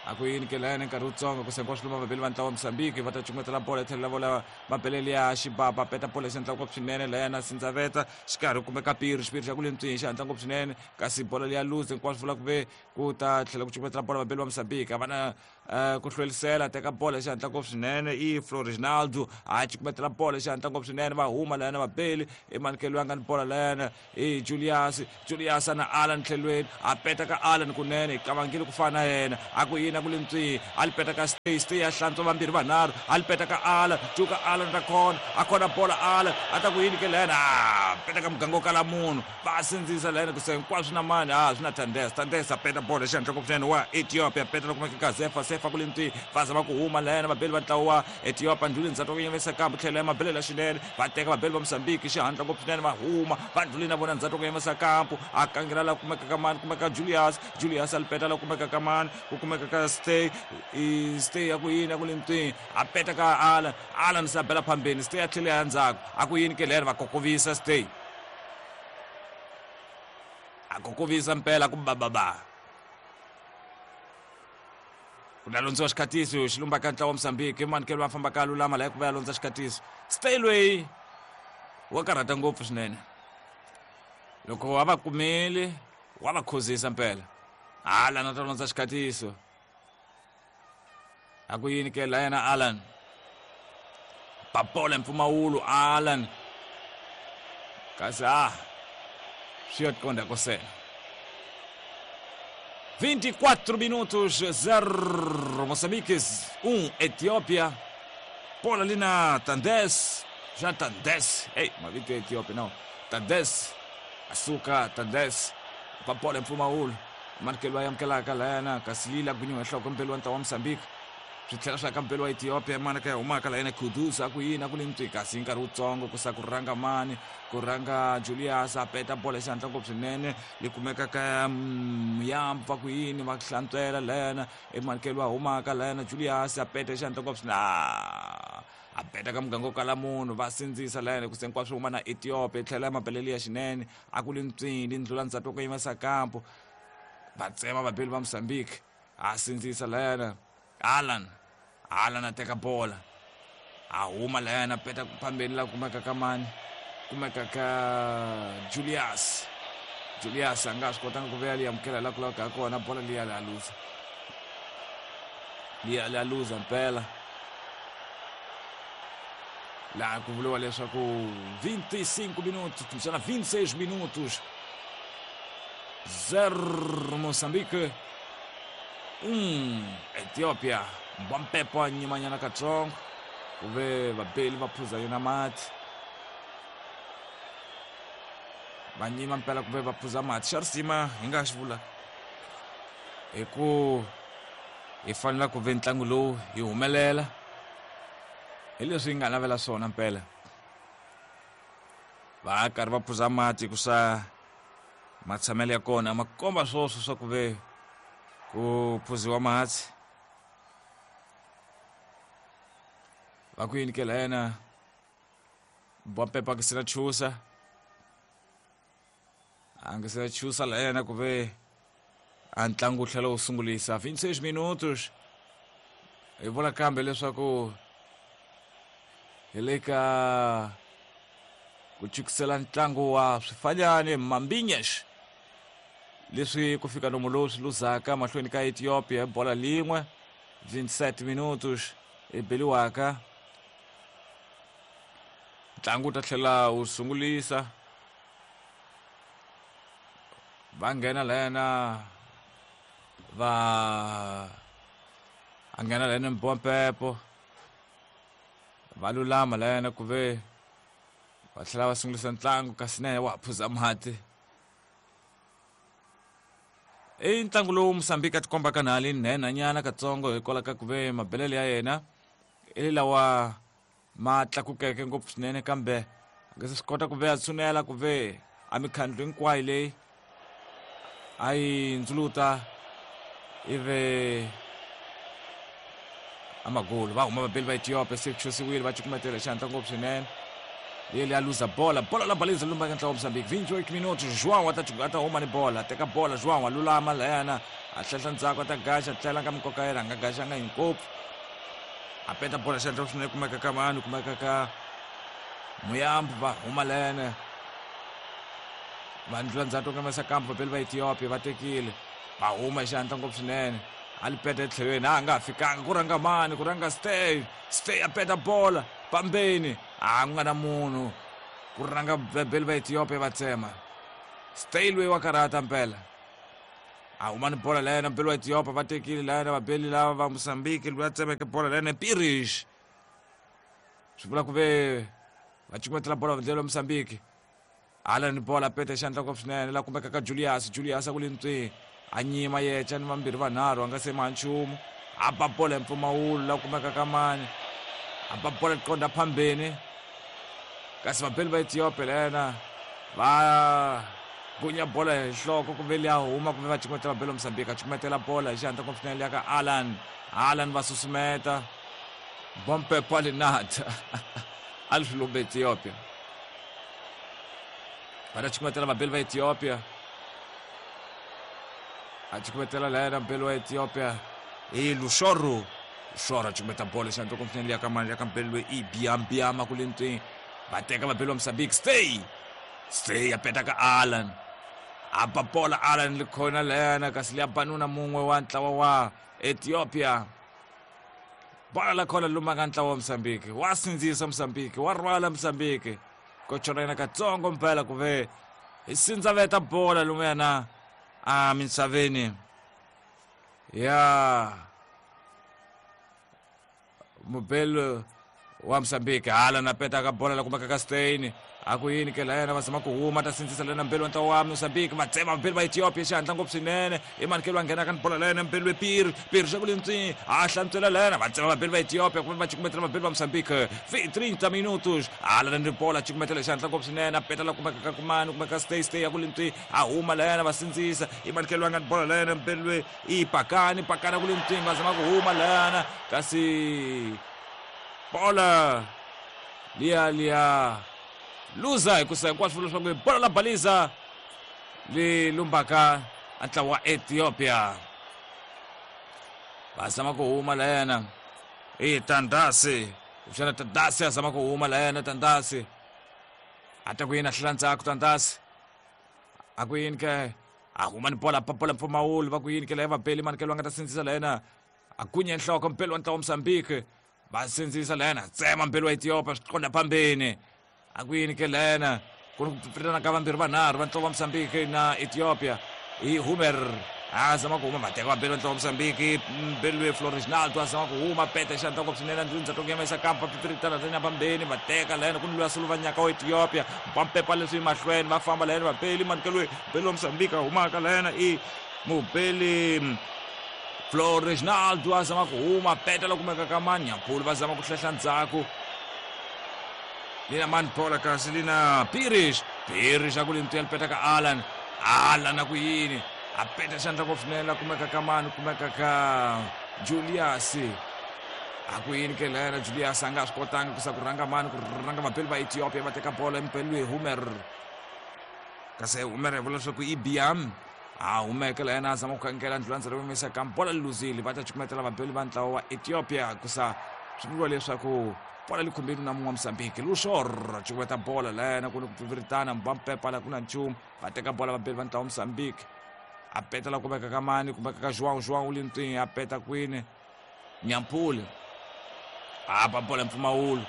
A ku yini ke layani nkarhi wutsongo ku sengiwa swiluma vabeli va ntlawa wa Mozambique va ta cukumetela bolo tlhelo la vola mabelele ya xibaba peta bolo xihatla ngopfu swinene layana sindzaveta xikarhi kumeka piri xipiri xa ku le ntswini xihatla ngopfu swinene kasi bolo liya luze hinkwaswo vula ku ve ku ta tlhela ku cukumetela bolo vabeli va Mozambique a va na ku hlwelisela teka bolo xihatla ngopfu swinene i Florinaldo a cukumetela bolo xihatla ngopfu swinene va huma layana vabeli i manikelo ya nga ni bolo layana i Julius Julius na Alan tlhelweni a peta ka Alan kunene hi kavangile ku fana na yena a ku yini a ku le ntswihi a li peta ka Stay Stay ya hlantswa vambirhi vanharhu a li peta ka Alan cuka Alan ta khona a khona bola Alan a ta ku yini ke layena a peta ka muganga wo kala munhu va sindzisa layena ku se hinkwaswo na mani a swi na Tandesa Tandesa peta bola xihatla ngopfu swinene wa Ethiopia peta loko kumeka Zefa Sefa ku le ntswihi va zama ku huma layena vabeli va ntlawa wa Ethiopia ndlhuli ndzhaku ku yimisa kambe tlhelo ya mabelela swinene va teka vabeli va Mozambique xihatla ngopfu swinene va huma va ndlhuli na vona ndzhaku ku yimisa kampu a kangela la kumeka ka mani kumeka Julius Julius a lipeta la kumeka ka mani ku kumeka ka Stay i Stay ya ku yini ya ku le ntswini a peta ka Alan Alan se a bela phambeni Stay a tlhela ya ndzhaku a ku yini ke lero va kokovisa Stay a kokovisa mpela ku bababa ku ta londziwa xikhatiso xi lumba ka ntlawa wa Mozambique i manikelo va fambaka lulama laha ku va ya londza xikhatiso Stay loyi wa karhata ngopfu swinene loko a va kumile wa va khuzisa mpela Alan a ta londza xikhatiso a ku yini ke la yena Alan papola mpfumawulo Alan kasi a swi ya tikonda kosela 24 minutos 0 Moçambique 1 Etiópia bola ali na Tandes já Tandes ei mavito ya Etiópia não Tandes asuka Tandes papola mpfumawulo manikelo ya amukelaka layana kasi lila gwinyiwa nhloko mpelo wa ntlawa wa Mozambique swi tlhela swi aka mpelo wa Ethiopia mana ka ya humaka layena Kudus a ku yini a ku le ntswi kasi hi nkarhi wutsongo ku sa ku rhanga mani ku rhanga Julius a peta bolo xihatla ngopfu swinene yi kumeka ka Muyampa ku yini va hlantswela layana emanikelo wa humaka layana Julius a peta xihatla ngopfu swinene a peta ka muganga wo kala munhu va sindzisa layana ku se hinkwaswo huma na Ethiopia yi tlhela ya mabelele ya xinene a ku le ntswini ndlula ndzhaku ku yimisa kampo va tsema vabeli va Mozambique a sindzisa layana Alan Alan a teka bola a huma layana peta phambeni la kumeka ka mani kumeka ka Julius Julius a nga swi kotanga ku veya liya amukela la ku laveka kona bola liya la luza liya la luza mpela laha ku vuriwa leswaku 25 minutos kumbexana 26 minutos 0 Moçambique 1 Ethiopia mbampepo a nyimanyana katsongo ku ve vabeli va phuza yona mati va nyima mpela ku ve va phuza mati xa risima hi nga xi vula hi ku hi fanela ku ve ntlangu lowu hi humelela hi leswi hi nga navela swona mpela va karhi va phuza mati ku sa matshamelo ya kona ma komba swoswo swa ku ve ku phuziwa mati va ku yini ke la yena Bwampepa a nge se na chusa a nge se na chusa la yena ku ve a ntlangu wu tlhela wu sungulisa 26 minutos hi vula kambe leswaku hi le ka ku chukisela ntlangu wa swifanyani mambinyesh leswi ku fika nomu lowu swi luzaka mahlweni ka Ethiopia hi bola lin'we 27 minutos i beliwaka ntlangu wu ta tlhela wu sungulisa va nghena layena va a nghena layena mbompepo va lulama layena ku ve va tlhela va sungulisa ntlangu kasi na yena wa ha phuza mati i ntlangu lowu Mozambique a tikombaka na ali nhenhanyana katsongo hikwalaho ka ku ve mabelele ya yena i lawa ma tlakukeke ngopfu swinene kambe a nge se swi kota ku ve a tshunela ku ve a mikhandlu hinkwayo leyi a yi ndzuluta ive amagulu va huma vabeli va Ethiopia se chusiwile va cukumetela xihatla ngopfu swinene Ele a luza bola, bola la baliza lumba ka ntlawa Mozambique. 28 minutos, João ata huma ni bola, teka bola João a lulama lena, a tlhela ndzhaku ata gaxa, tlhela ka mikoka yena, nga gaxanga hi ngopfu. A peta bola xandla swinene kumeka ka mani, kumeka ka Muyambo va huma lena. Vandla ndzhaku ka masa kampo vapeli va Ethiopia va tekile. Va huma xandla ngopfu swinene. A li peta etlhelweni, a nga fikanga ku rhanga mani, ku rhanga Stay, Stay a peta bola pambeni. A ku nga na munhu ku rhanga vabeli va Ethiopia va tsema. Stay loyi wa karhata mpela. A huma ni bola lena mbeli wa Ethiopia va tekile lena vabeli lava va Mozambique loyi a tsemeke bola lena Pirish. Swi vula ku ve va cukumetela bola vandlelo wa Mozambique. Hala ni bola peta xandla ngopfu swinene la kumeka ka Julius, Julius a ku le ntswi. A nyima yecha ni vambirhi vanharhu a nga se ma nchumu. A ba bola hi mpfumawulo la kumeka ka mani. A ba bola qonda phambeni. Kasi vabeli va Ethiopia lena va gunya bola hi nhloko kumbe liya huma kumbe va cukumetela vabeli va Mozambique. A cukumetela bola hi xihatla ngopfu swinene liya ka Alan. Alan va susumeta. Bompe Palinata. A li swi lumba Ethiopia. Va ta cukumetela vabeli va Ethiopia. A cukumetela lena mbeli wa Ethiopia. I Lushoro. Lushoro a cukumeta bola xihatla ngopfu swinene liya ka mani, liya ka mbeli loyi i Biambiama ku le ntswini. Va teka vabeli va Mozambique. Stay. Stay a peta ka Alan. A ba bola Alan li khona lena kasi liya banuna mun'we wa ntlawa wa Ethiopia. Bola la khona luma ka ntlawa wa Mozambique. Wa sindzisa Mozambique, wa rhwala Mozambique. Ko chona yena katsongo mpela ku ve hi sindzaveta bola lumuyana a misaveni ya mubelo wa Mozambique. Hala na peta ka bola la kumeka ka Stein. A ku yini ke lena va zama ku huma ta sindzisa lena mbeli wa ntlawa wa Mozambique. Va tsema vabeli va Ethiopia xihatla ngopfu swinene. I mani ke loyi a nghenaka ni bola lena mbeli we Piri, Piri xa ku le ntswini a hlantswela lena. Va tsema vabeli va Ethiopia kumbe va cukumetela vabeli va Mozambique. 30 minutos. Hala ni bola cukumetela xihatla ngopfu swinene. A peta la kumeka ka kumani, kumeka Stay, Stay ya ku le ntswini a huma lena va sindzisa. I mani ke loyi a nga ni bola lena mbeli we i Pakani, Pakani ku le ntswini va zama ku huma lena kasi bola liya liya luza hikusa hinkwaswo leswaku bola la baliza li lumbaka a ntlawa wa Ethiopia. Va zama ku huma lena i Tandasi, kuxana Tandasi a zama ku huma lena Tandasi a ta ku yini a hlula ndzhaku Tandasi a ku yini ke a huma ni bola bola mpfumawulo va ku yini ke leyi vabeli mani ke loyi a nga ta sindzisa lena a gunya nhloko mpeli wa ntlawa wa Mozambique. Va sindzisa lena tsema mpeli wa Ethiopia swi qonda phambeni. A ku yini ke lena ku ri ku pfupfutana ka vambirhi vanharhu va ntlawa wa Mozambique na Ethiopia. I Humer a zama ku huma, va teka vabeli va ntlawa wa Mozambique. Mbeli loyi Floresnaldo a zama ku huma, peta xandla ngopfu swinene ndzi to yimisa kampa pfipfiritana lena phambeni. Va teka lena ku ni loyi a suluva nyaka wa Ethiopia, va mpepa leswi mahlweni va famba lena vabeli mani ke loyi mbeli wa Mozambique a humaka lena i mubeli Floresnaldo a zama ku huma, peta la kumeka ka Manyampulu va zama ku hlehla ndzhaku. Lina mani bola kasi lina Pirish, Pirish a ku le ntwela peta ka Alan, Alan a ku yini a peta xandla ngopfu swinene la kumeka ka mani, kumeka ka Julius. A ku yini ke lena Julius a nga swi kotanga ku sa ku rhanga mani, ku rhanga vabeli va Ethiopia va teka bola empeli loyi Humer. Kasi Humer hi vula leswaku i Biam a humeke la yena a zama ku khangela ndlulandza ro yimisa ka bola li luzile. Va ta cukumetela vabeli va ntlawa wa Ethiopia kusa swi vuriwa leswaku bola li khumbile na mun'we wa Mozambique. Lushor cukumeta bola la yena ku ni ku pfipfiritana mbampepa la ku na nchumu. Va teka bola vabeli va ntlawa wa Mozambique. A peta la kumeka ka mani, kumeka ka João, João u le ntwini a peta kwini Nyampuli a ba bola mpfumawulo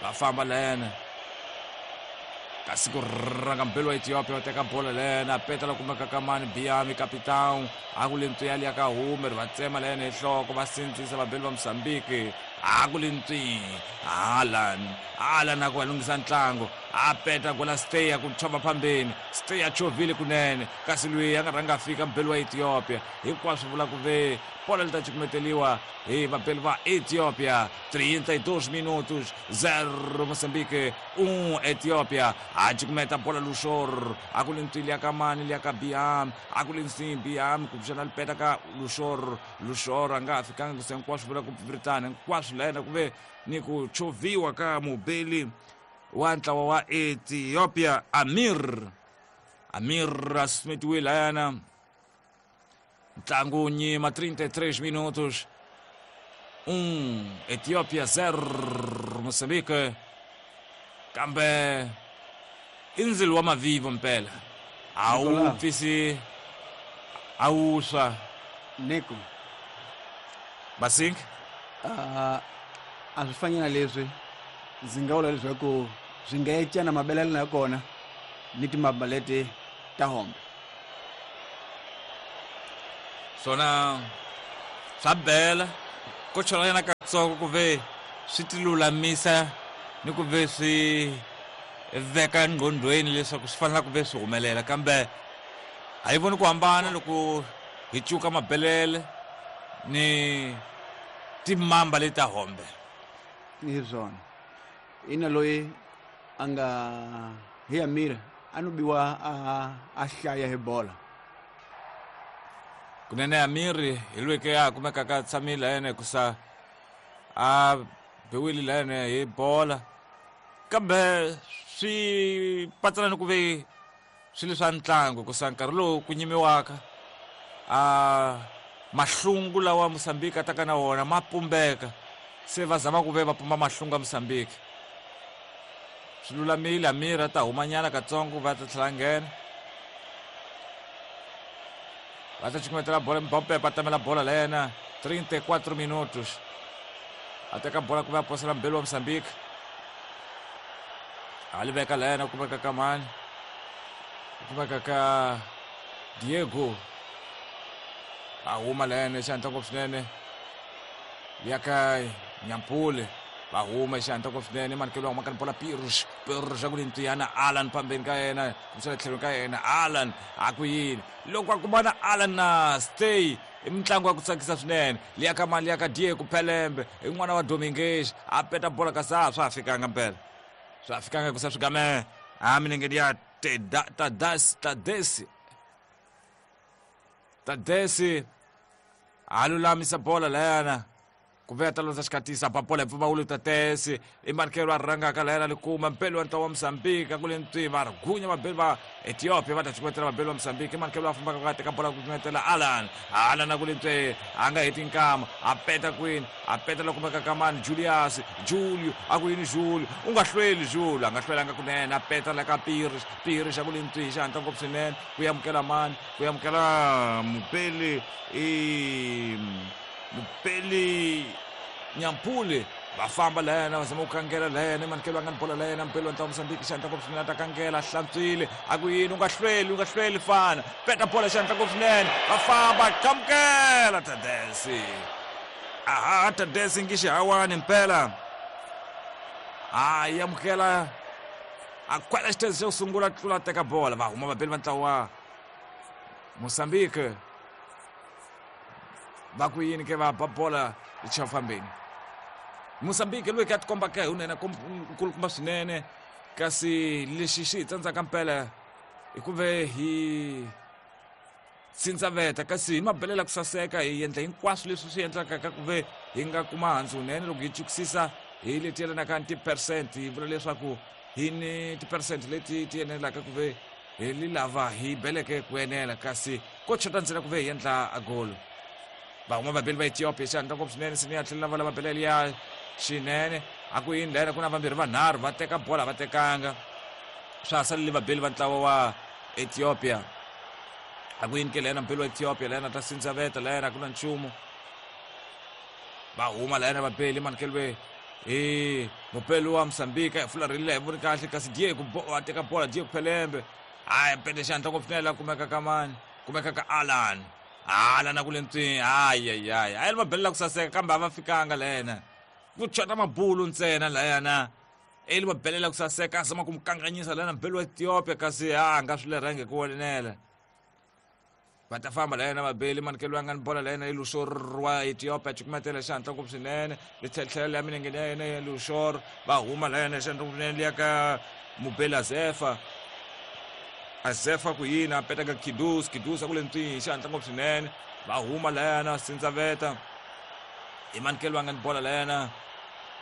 va famba la yena kasi ku rhanga mbeli wa Ethiopia va teka bola lena a peta la kumeka ka mani Biami capitão a ku le ntwi ya liya ka Humer va tsema la yena hi nhloko va sindzisa vabeli va Mozambique a ku le ntwi Alan, Alan a ku va lunghisa ntlangu a peta gola Stay a ku chova phambeni Stay a chovile kunene kasi loyi a nga rhanga a fika mbeli wa Ethiopia hinkwaswo vula ku ve bola li ta cukumeteliwa hi vabeli va Ethiopia. 32 minutos, 0 Mozambique, 1 Ethiopia. A cukumeta bola Lushor a ku le ntwi liya ka mani, liya ka Biam a ku le nswi Biam ku pfuxana lipeta ka Lushor, Lushor a nga ha fikanga ku se hinkwaswo vula ku pfipfiritana hinkwaswo la yena ku ve ni ku chovhiwa ka mubeli wa ntlawa wa Ethiopia Amir. Amir a sumetiwe layana. Ntlangu nyima 33 minutos. 1 Etiópia 0 Moçambique. Kambe i ndzilo wa mavivo mpela. A wu pfisi a wu swa. Neko. Basing? A swi fani na leswi ndzi nga vula leswaku swi nga ecana mabelelo ya kona ni timamba leti ta hombe. Swona swa bela ko cholanyana katsongo ku ve swi ti lulamisa ni ku ve swi veka nqondweni leswaku swi fanele ku ve swi humelela, kambe a yi voni ku hambana loko hi cuka mabelele ni timamba leti ta hombe. Hi swona ina loyi a nga hi Amir a no biwa a hlaya hi bola. Kunene Amir hi loyi ke a kumekaka a tshamile yena hikusa a biwile la yena hi bola, kambe swi patsana ni ku ve swilo swa ntlangu hikusa nkarhi lowu ku nyimiwaka a mahlungu lawa Mozambique a taka na wona ma pumbeka, se va zama ku ve va pumba mahlungu ya Mozambique. Swi lulamile Amir a ta humanyana katsongo va ta tlhela nghena. Va ta cukumetela bola Mbappe a tamela bola la yena 34 minutos. A teka bola ku va posela mbelu wa Mozambique. A li veka la yena kumeka ka mani? Kumeka ka Diego. A huma la yena xihatla ngopfu swinene. Ya ka Nyampule. Va huma xihatla ngopfu swinene manikelo wa humaka ni bola Pirus. Pirus a ku ni ntiyana Alan phambeni ka yena, kumbexana tlhelweni ka yena Alan a ku yini. Loko a kumana Alan na Stay i mitlangu ya ku tsakisa swinene. Liya ka mali ya ka Diego Pelembe i n'wana wa Domingues a peta bola kasi a swa ha fikanga mpela. Swa ha fikanga hikusa swi game a milengeni ya Tadesi. Tadesi a lulamisa bola layana ku ve a ta landza xikatisa ba bola hi mpfumawulo Tadesi i manikelo a rhangaka layana li kuma mpelo wa ntlawa wa Mozambique a ku le ntwi va gunya vabeli va Ethiopia va ta cukumetela vabeli va Mozambique i manikelo a fambaka ku ya teka bola ku cukumetela Alan. Alan a ku le ntwi a nga heti nkama a peta kwini a peta la kumeka ka mani Julius Julio a ku yini Julio u nga hlweli Julio a nga hlwelanga kunene a peta la ka Pires. Pires a ku le ntwi xihatla ngopfu swinene ku amukela mani ku amukela mupeli i mupeli Nyampule. Va famba la yena va zama ku kangela la yena manikelo a nga ni bola la yena mpeli wa ntlawa Mozambique xihatla ngopfu swinene a ta kangela hlantswile a ku yini u nga hlweli fana peta bola xihatla ngopfu swinene va famba qhamukela Tadesi. Aha Tadesi ngi xihawani mpela a amukela a kwela xithezi xo sungula tlula teka bola va huma vabeli va ntlawa wa Mozambique va ku yini ke va ba bola xichafambeni. Mozambique loyi ka tikombaka hi unene nkulukumba swinene, kasi lexi xi hi tsandzaka mpela i ku ve hi sindzaveta kasi hi mabelela ku saseka hi endla hinkwaswo leswi swi endlaka ka ku ve hi nga kuma handzu wunene loko hi chukisisa hi leti yelanaka ni ti-percent hi vula leswaku hi ni ti-percent leti ti enelaka ku ve hi li lava hi beleke ku enela kasi ko chota ntsena ku ve hi endla a golo. Va huma vabeli va Ethiopia xihatla ngopfu swinene sini ya tlhela va lava belele ya xinene a ku yini layena ku na vambirhi vanharhu va teka bola va tekanga swa ha salele vabeli va ntlawa wa Ethiopia a ku yini ke layena mbeli wa Ethiopia layena ta sindzaveta layena a ku na nchumu va huma layena vabeli manikeliwe hi mupeli wa Mozambique hi fularhelile hi voni kahle kasi Diego a teka bola Diego Pelembe hayi pete xihatla ngopfu swinene la kumeka ka mani kumeka ka Alan. Alan a ku le ntswini hayi hayi hayi a yi va belela ku saseka kambe a va fikanga layena ku chota mabulu ntsena layana eli va belela ku saseka a zama ku mu kanganyisa layena mbeli wa Ethiopia kasi a nga swi lerhangi ku enela. Va ta famba layena vabeli manikelo ya nga ni bola layena i Lushor wa Ethiopia cukumetela xihatla ngopfu swinene li tlhetlhela ya milengeni ya yena ya Lushor va huma layena xihatla ngopfu swinene liya ka mubeli Azefa. Azefa ku yini a peta ka Kidus. Kidus a ku le ntswini xihatla ngopfu swinene va huma layana sindzaveta i manikelo ya nga ni bola layena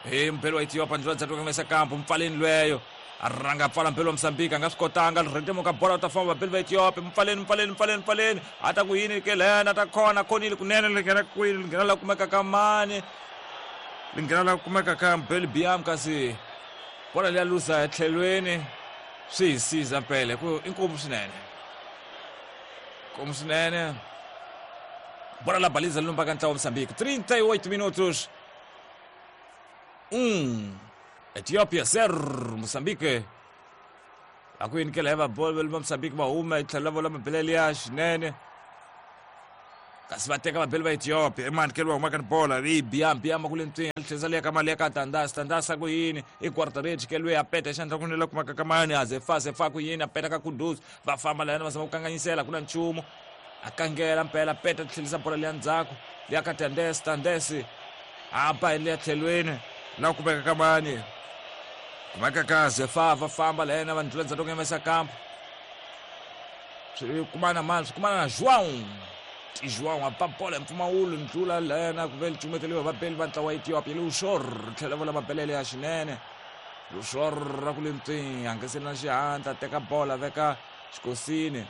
hi mubeli wa Ethiopia ndlela ndzhaku ka kampo mpfaleni lweyo A rhanga pfala mpelo wa Mozambique a nga swi kotanga rhentemuka bola u ta famba vabeli va Ethiopia mpfaleni mpfaleni mpfaleni mpfaleni a ta ku yini ke lena ta khona khonile kunene li nghena kwini li nghena la kumeka ka mani li nghena la kumeka ka Mbeli Biam kasi bola liya luza etlhelweni swi hi siza mpela ku inkomu swinene nkomu swinene bola la baliza lumba ka ntlawa wa Mozambique 38 minutos 1 Ethiopia 0 Mozambique a ku yini kela va bolo va Mozambique va huma yi tlhela vola mabelele ya xinene kasi va teka vabeli va Ethiopia emani keliwa humaka ni bola i biam biam ku le ntswini tlhesa liya ka mali ya ka tandas tandas a ku yini i quarter kelwe ya peta xandla ku nela kumaka ka mani a zefa zefa ku yini a peta ka kudus va famba layani va zama ku kanganyisela ku na nchumu a kangela mpela peta tlhelisa bola liya ndzhaku liya ka tandes tandes a ba hi liya tlhelweni la kumeka ka mani kumeka ka zefa va famba layena va ndlula ndzhaku ngemesa kampo swi kumana mani swi kumana na João ti João a ba bola hi mpfumawulo ndlula lena ku ve li cumeteliwa vabeli va ntlawa wa Ethiopia Lushor tlhela vola mabelele ya xinene Lushor ra ku le ntswini hangeseli na xihatla teka bola veka xikosini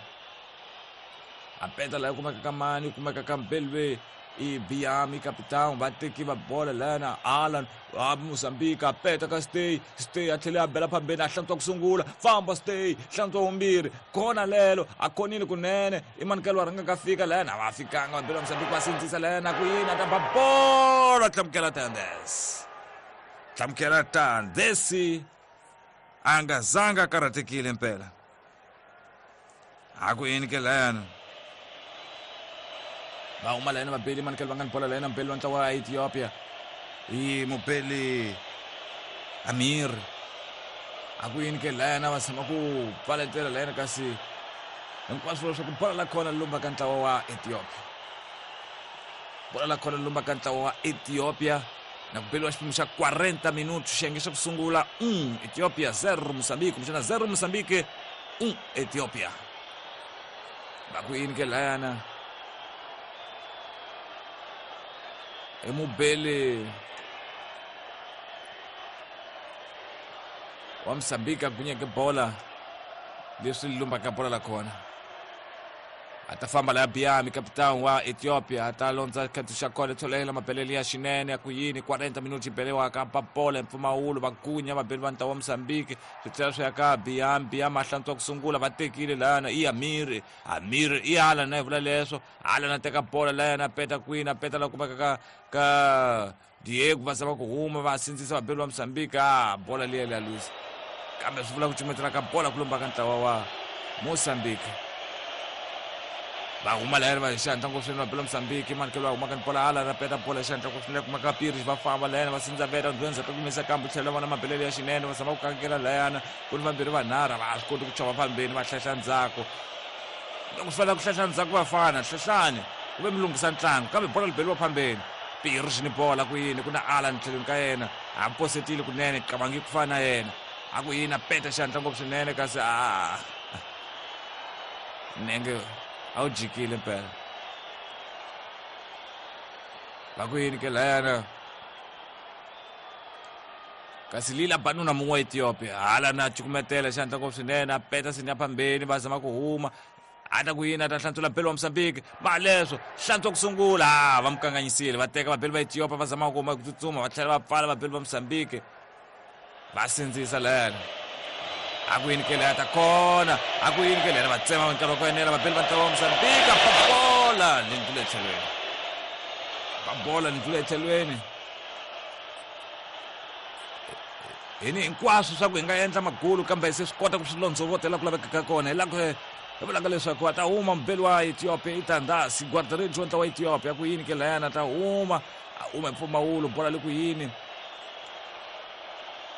a peta laha kumeka ka mani kumeka ka mbelwe i Biami capitão va teki va bola lana Alan wa Mozambique a peta ka stay stay a tlhela a bela phambeni a hlantswa ku sungula famba stay hlantswa vumbirhi kona lelo a khonile kunene i manikelo wa rhanga ka fika lana va fikanga va bela Mozambique va sindzisa lana ku yini a ta ba bola hlamukela Tandes hlamukela Tandesi a nga zanga a karhatekile mpela a ku yini ke layana va huma layana vabeli manikelo va nga ni bola layana mubeli wa ntlawa wa Ethiopia i mubeli Amir a ku yini ke layana va tshama ku pfaletela layana kasi hinkwaswo leswaku bola la khona lumba ka ntlawa wa Ethiopia bola la khona lumba ka ntlawa wa Ethiopia na ku beliwa xiphemu xa 40 minutos xiyenge xa ku sungula 1 Ethiopia 0 Mozambique kumbexana 0 Mozambique 1 Ethiopia va ku yini ke layana i mubeli wa Mozambique a gunyeke bola leswi lumbaka bola la kona a ta famba laya Biami capitão wa Ethiopia a ta londza khetho xa kona tsholela mabelele ya xinene ya ku yini 40 minuti beliwaka ba bola hi mpfumawulo va gunya vabeli va ntlawa wa Mozambique swi tlhela swi ya ka Biami Biami a hlantswa ku sungula va tekile layana i Amir Amir i hala na hi vula leswo hala na teka bola layana a peta kwini a peta la kumeka ka ka Diego va zama ku huma va sindzisa vabeli va Mozambique a bola liya liya luza kambe swi vula ku cumetela ka bola ku lomba ka ntlawa wa Mozambique va huma layani va xihatla ngopfu swinene vabeli va Mozambique manikelo va huma ka bola hala ra peta bola xihatla ngopfu swinene kuma ka Pires va famba layani va sindza veta ndlwenza ta kumisa kambe tlhela vona mabelele ya xinene va zama ku kangela layana ku ni vambirhi vanharhu va swi koti ku chova phambeni va hlehla ndzhaku loko swi fanele ku hlehla ndzhaku vafana hlehlani ku ve mi lunghisa ntlangu kambe bola li beliwa phambeni Pires ni bola ku yini ku na Alan tlhelweni ka yena a posetile kunene qabangi ku fana na yena a ku yini a peta xihatla ngopfu swinene kasi a nenge a wu jikile mpela va ku yini ke layana kasi lila banuna mun'we wa Ethiopia hala na cukumetela xihatla ngopfu swinene a peta sinya phambeni va zama ku huma a ta ku yini a ta hlantswela belo wa Mozambique va leswo hlantswa ku sungula va mu kanganyisile va teka vabeli va Ethiopia va zama ku huma ku tsutsuma va tlhela va pfala vabeli va Mozambique va sindzisa lena a ku yini ke leya ta kona a ku yini ke lena va tsema nkarhi wa ku enela vabeli va ntlawa wa Mozambique va bola ni ndlula etlhelweni va bola ni ndlula etlhelweni hi ni hinkwaswo swa ku hi nga endla magulu kambe se swi kota ku swi londzovotela ku lavekaka kona hi la ku hi vulaka leswaku a ta huma mubeli wa Ethiopia i Tandasi guardaredi wa ntlawa wa Ethiopia ku yini ke layana a ta huma a huma hi mpfumawulo bola le ku yini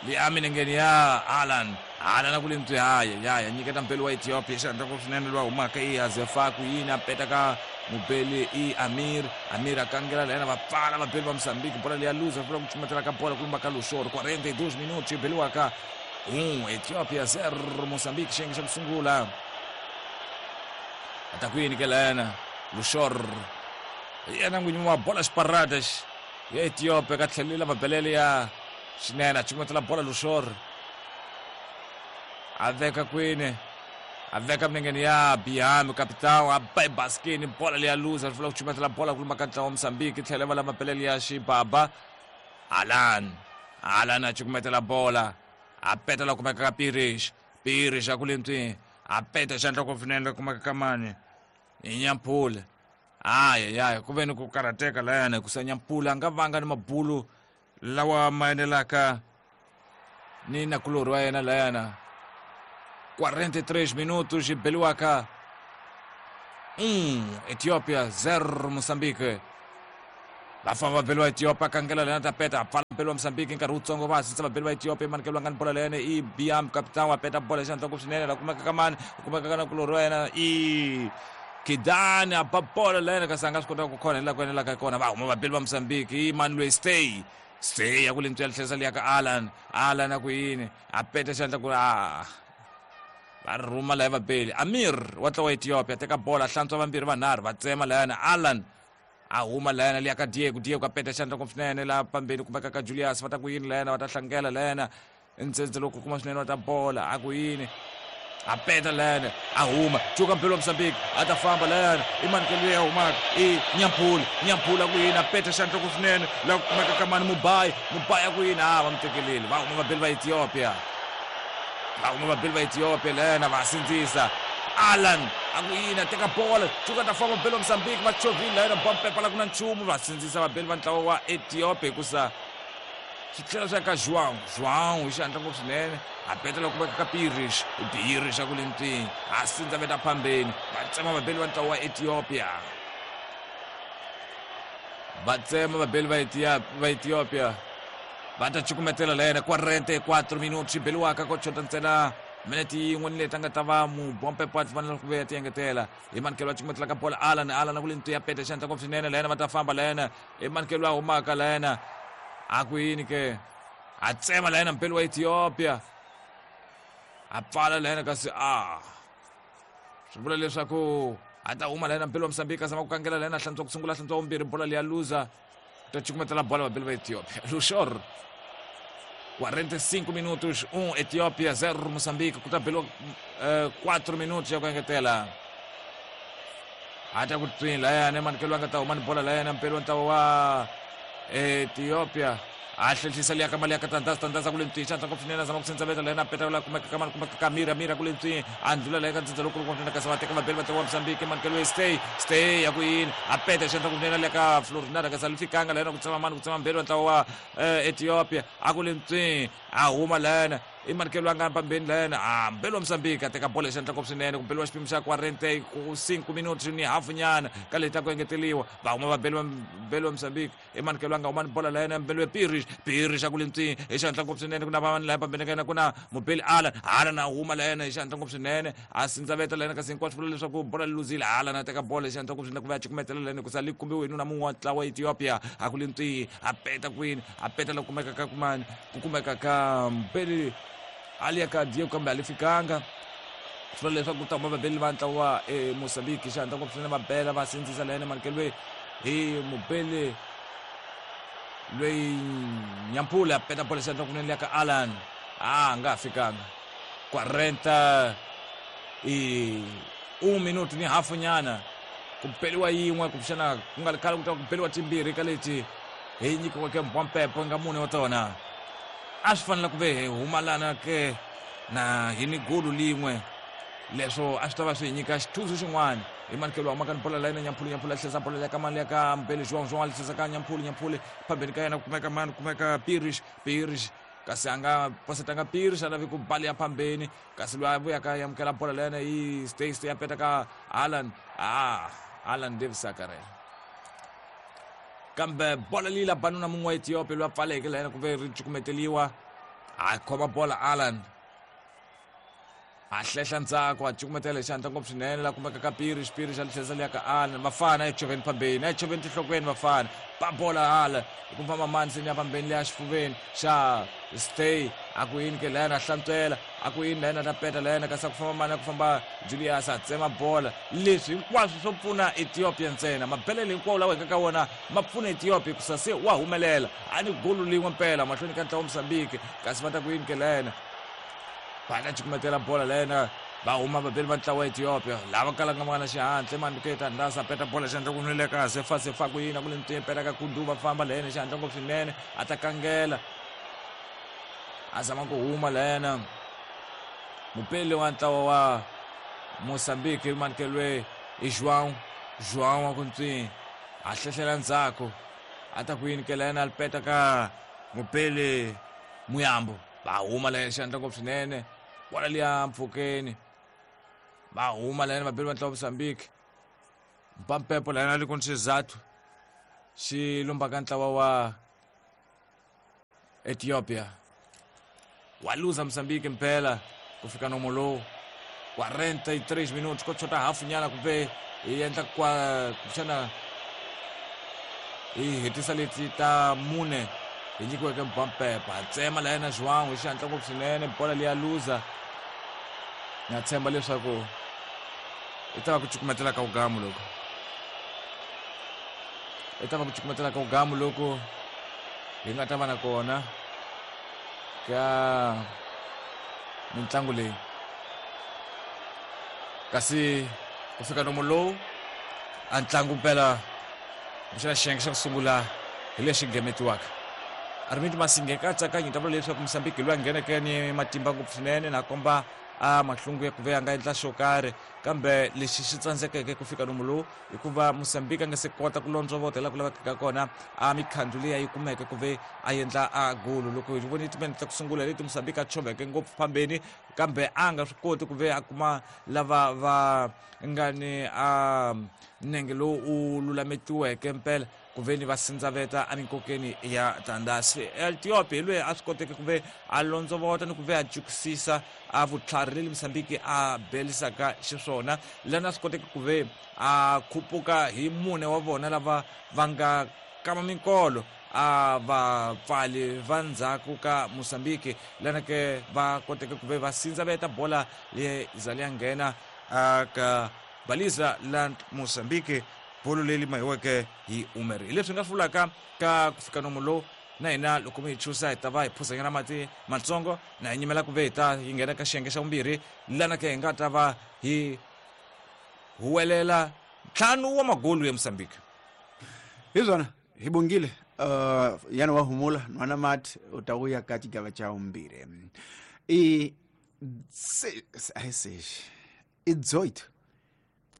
liya milengeni ya Alan Alan a ku le ntswi haya ya ya nyiketa mubeli wa Ethiopia xihatla ku swinene loyi a humaka i Azefa ku yini a peta ka mubeli i Amir Amir a kangela layana va pfala vabeli va Mozambique bola leya luza vula ku cumetela ka bola ku lumba ka Lushoro 42 minutos yi beliwaka 1 Ethiopia 0 Mozambique xiyenge xa ku sungula a ta ku yini ke layana Lushor yena n'winyi wa bola xiparadas ya Ethiopia ka tlhelela mabelele ya xinene a cukumetela bola Lushor A veka kwini? A veka milengeni ya Biami capitão, a ba ebaskini, bola leya luza, ri vula ku chumetela bola ku luma ka ntlawa wa Mozambique, tlhela va la mapelele ya xibaba. Alan, Alan a cukumetela bola, a peta la kumeka ka Pirish, Pirish a ku le ntswini, a peta xandla ku finene la kumeka ka mani, i Nyampula. Ayayaya, ku ve ni ku karhateka layani hikusa Nyampula a nga vanga ni mabulu lawa ma enelaka ni nakulorhi wa yena layana. 43 minutos xi beliwaka 1 Ethiopia 0 Mozambique. Va famba va beliwa Ethiopia kangela lena ta peta a pfala beliwa Mozambique nkarhi wutsongo va hasisa va beliwa Ethiopia manikelo nga ni bola leyana i Biam capitão a peta bola xandla ku swinene la kumeka ka mani ku kumeka ka nakulorhi wa yena i Kidani a ba bola leyana kasi a nga swi kota ku khona hi laha ku enelaka kona va huma vabeli va Mozambique i mani loyi stay stay ya ku le ntswela tlherisa liya ka Alan Alan a ku yini a peta xandla ku a va rhuma laya vabeli Amir wa tlawa Ethiopia teka bola hlantswa vambirhi vanharhu va tsema layana Alan a huma layana liya ka Diego Diego a peta xandla ngopfu swinene laha pambeni kumeka ka Julius va ta ku yini layana va ta hlangela layana ntsendze loko kuma swinene wa ta bola a ku yini a peta layana a huma cuka mpelo wa Mozambique a ta famba layana i manikelo leyi a humaka i Nyampula Nyampula ku yini a peta xandla ku swinene laha ku kumeka ka mani Mubayi Mubayi a ku yini a va mu tekeleli va huma vabeli va Ethiopia va huma vabeli va Ethiopia layana va sindzisa Alan a ku yini a teka bola cuka ta famba vabeli va Mozambique va chovhile layana bompepa la ku na nchumu va sindzisa vabeli va ntlawa wa Ethiopia hikusa swi tlhela swi ya ka João João hi xihatla ngopfu swinene a petela ku veka ka Pires Pires a ku le ntwini a sindza veta phambeni va tsema vabeli va ntlawa wa Ethiopia va tsema vabeli va va Ethiopia va ta cukumetela la yena 44 minutos xi beliwaka ko chota ntsena minete yin'we ni leti a nga ta va mubompepo a fanele ku vuya ti engetela hi manikelo va cukumetela ka bola Alan Alan a ku le ntwi ya peta xihatla ngopfu swinene la yena va ta famba la yena i manikelo a humaka la yena a ku yini ke a tsema la yena mpeli wa Ethiopia a pfala la yena kasi a swi vula leswaku a ta huma la yena mpeli wa Mozambique a zama ku kangela la yena hlantswa ku sungula hlantswa vumbirhi bola leya luza ta cukumetela bola vabeli va Ethiopia Lushor 45 minutos 1 Ethiopia 0 Mozambique ku ta beliwa 4 minutos ya ku engetela a ta ku twini layani manikelo a nga ta huma ni bola layani mpeli wa ntlawa wa Ethiopia a hlehlisa liya ka mali ya ka Tandaza Tandaza ku le ntswini xandla ngopfu swinene a zama ku sendza layena a peta la kumeka ka mani kumeka ka Mira Mira ku le ntswini a ndlula laya ka ndzindza lowukulu ngopfu swinene kasi va teka vabeli va ntlawa wa Mozambique manikelo ya stay stay ya ku yini a peta xandla ngopfu swinene liya ka Florinada kasi a li fikanga layena ku tsema mani ku tsema mbeli wa ntlawa wa Ethiopia a ku le ntswini a huma layena i manikelo a nga pambeni layena a mbeli wa Mozambique a teka bola xandla ngopfu swinene ku beliwa xipimo xa 45 minutos ni hafu nyana ka leti ta ku engeteliwa va huma vabeli va mbeli wa Mozambique i manikelo a nga huma ni bola layena mbeli wa Pirish Pirish a ku le ntswini hi xihatla ngopfu swinene ku na vanhu laya pambeni ka yena ku na mubeli Alan Alan a huma layena hi xihatla ngopfu swinene a sindzaveta layena kasi hinkwaswo vula leswaku bola li luzile Alan a teka bola hi xihatla ngopfu swinene ku va ya cukumetela layena hikusa li kumbiwe hi nuna mun'we wa ntlawa wa Ethiopia a ku le ntswini a peta kwini a peta la kumeka ka kumani ku kumeka ka mbeli ali ya ka Diego kambe a li fikanga swi vula leswaku ku ta huma vabeli va ntlawa wa Mozambique xihatla ngopfu swinene va bela va sindzisa layena manikelo hi mubeli loyi Nyampula peta bola xihatla kunene liya ka Alan a nga ha fikanga 40 i 1 minuto ni hafu nyana ku beliwa yin'we kumbexana ku nga ri khale ku ta ku beliwa timbirhi ka leti hi nyikiweke mbwampepo nga mune wa tona a swi fanele ku ve hi humalana ke na hi ni golu lin'we leswo a swi ta va swi hi nyika xithuzu xin'wana hi manikelo humaka ni bola layena Nyampulu Nyampulu a tlherisa bola ya ka mani ya ka Mbele João João a tlherisa ka Nyampulu Nyampulu phambeni ka yena ku kumeka mani ku kumeka Pirish Pirish kasi a nga posetanga Pirish a lavi ku bali ya phambeni kasi loyi a vuyaka ya amukela bola layena i stay stay ya peta ka Alan ah Alan Davis a karhele kambe bola leyi la banuna mun'we wa Ethiopia loyi a pfaleke layena ku ve ri cukumeteliwa a khoma bola Alan a hlehla ndzhaku a cukumetela hi xihatla ngopfu swinene la kumeka ka Piri xipiri xa litlherisa liya ka Alan vafana echoveni phambeni echoveni tinhlokweni vafana ba bola hala hi ku famba mani seni ya phambeni leya xifuveni xa stay a ku yini ke layena a hlantswela a ku yini layena ta peta layena kasi a ku famba mani a ku famba Julius a tsema bola leswi hinkwaswo swo pfuna Ethiopia ntsena mabelele hinkwawo lawa hi nga ka wona ma pfuna Ethiopia hikusa se wa humelela a ni golu lin'we mpela mahlweni ka ntlawa Mozambique kasi va ta ku yini ke layena Va ta cukumetela bola lena va huma vabeli va ntlawa wa Ethiopia lava kalaka va nga na xihatla mandike tandasa peta bola xihatla ku nwile ka sefa sefa ku yina ku le ntini peta ka kundu va famba lena xihatla ngopfu swinene a ta kangela a zama ku huma lena mupeli wa ntlawa wa Mozambique manikeliwe i João João wa ku ntswini a hlehlela ndzhaku a ta ku yini ke lena peta ka mupeli Muyambo va huma lena xihatla ngopfu swinene bola liya mpfhukeni va huma lena vabeli va ntlawa Mozambique mpampepo lena ri ku ni xizathu xi lombaka ntlawa wa Ethiopia wa luza Mozambique mpela ku fika nomo lowu 43 minutos ko chota hafu nyana kumbe hi endla kwa kumbexana hi hetisa leti ta mune hi nyikiweke mpampepa tsema la yena João hi xihatla ngopfu swinene bola liya luza na tshemba leswaku i ta va ku cukumetela ka ugamu loko i ta va ku cukumetela ka ugamu loko hi nga ta va na kona ka mitlangu leyi kasi ku fika nomo lowu a ntlangu mpela kumbexana xiyenge xa ku sungula hi lexi gemetiwaka Armindo Masinge katsakanyi ta vula leswaku Mozambique loyi a ngheneke ni matimba ngopfu swinene na komba a mahlungu ya ku ve a nga endla xo karhi kambe lexi xi tsandzekeke ku fika nomu lowu hikuva Mozambique a nga se kota ku londzovota laha ku lavekaka kona a mikhandzu leyi a yi kumeke ku ve a endla a golo loko hi vone timene ta ku sungula leti Mozambique a tshoveke ngopfu phambeni kambe a nga swi koti ku ve a kuma lava va nga ni a nenge lowu u lulametiweke mpela ku ve ni va sindzaveta eminkokeni ya tandasi Ethiopia hi loyi a swi koteke ku ve a londzovota ni ku ve a jukisisa a vutlhari leli Mozambique a belisaka xiswona lana a swi koteke ku ve a khupuka hi mune wa vona lava va nga kama minkolo a vapfali va ndzhaku ka Mozambique lana ke va koteke ku ve va sindzaveta bola leyi za liya nghena ka baliza la Mozambique bolo leri mahiweke hi Umeri hi leswi nga swi vulaka ka ku fika nomo lowu na hina loko mi hi chusa hi ta va hi phuzanyana mati matsongo na hi nyimela ku ve hi ta hi nghena ka xiyenge xa vumbirhi lana ke hi nga ta va hi huwelela ntlhanu wa magolu ya Mozambique hi swona hi bongile yana wa humula nwana mati u ta vuya ka xigava xa vumbirhi i a hi sexi i 18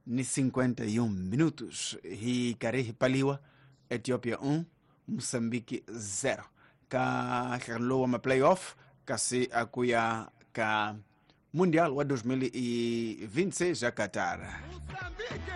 ni 51 minutos hi karhi hi paliwa Ethiopia 1 Mozambique 0 ka nhlangano lowu wa ma-playoff kasi a ku ya ka Mundial wa 2026 ya Qatar. Mozambique!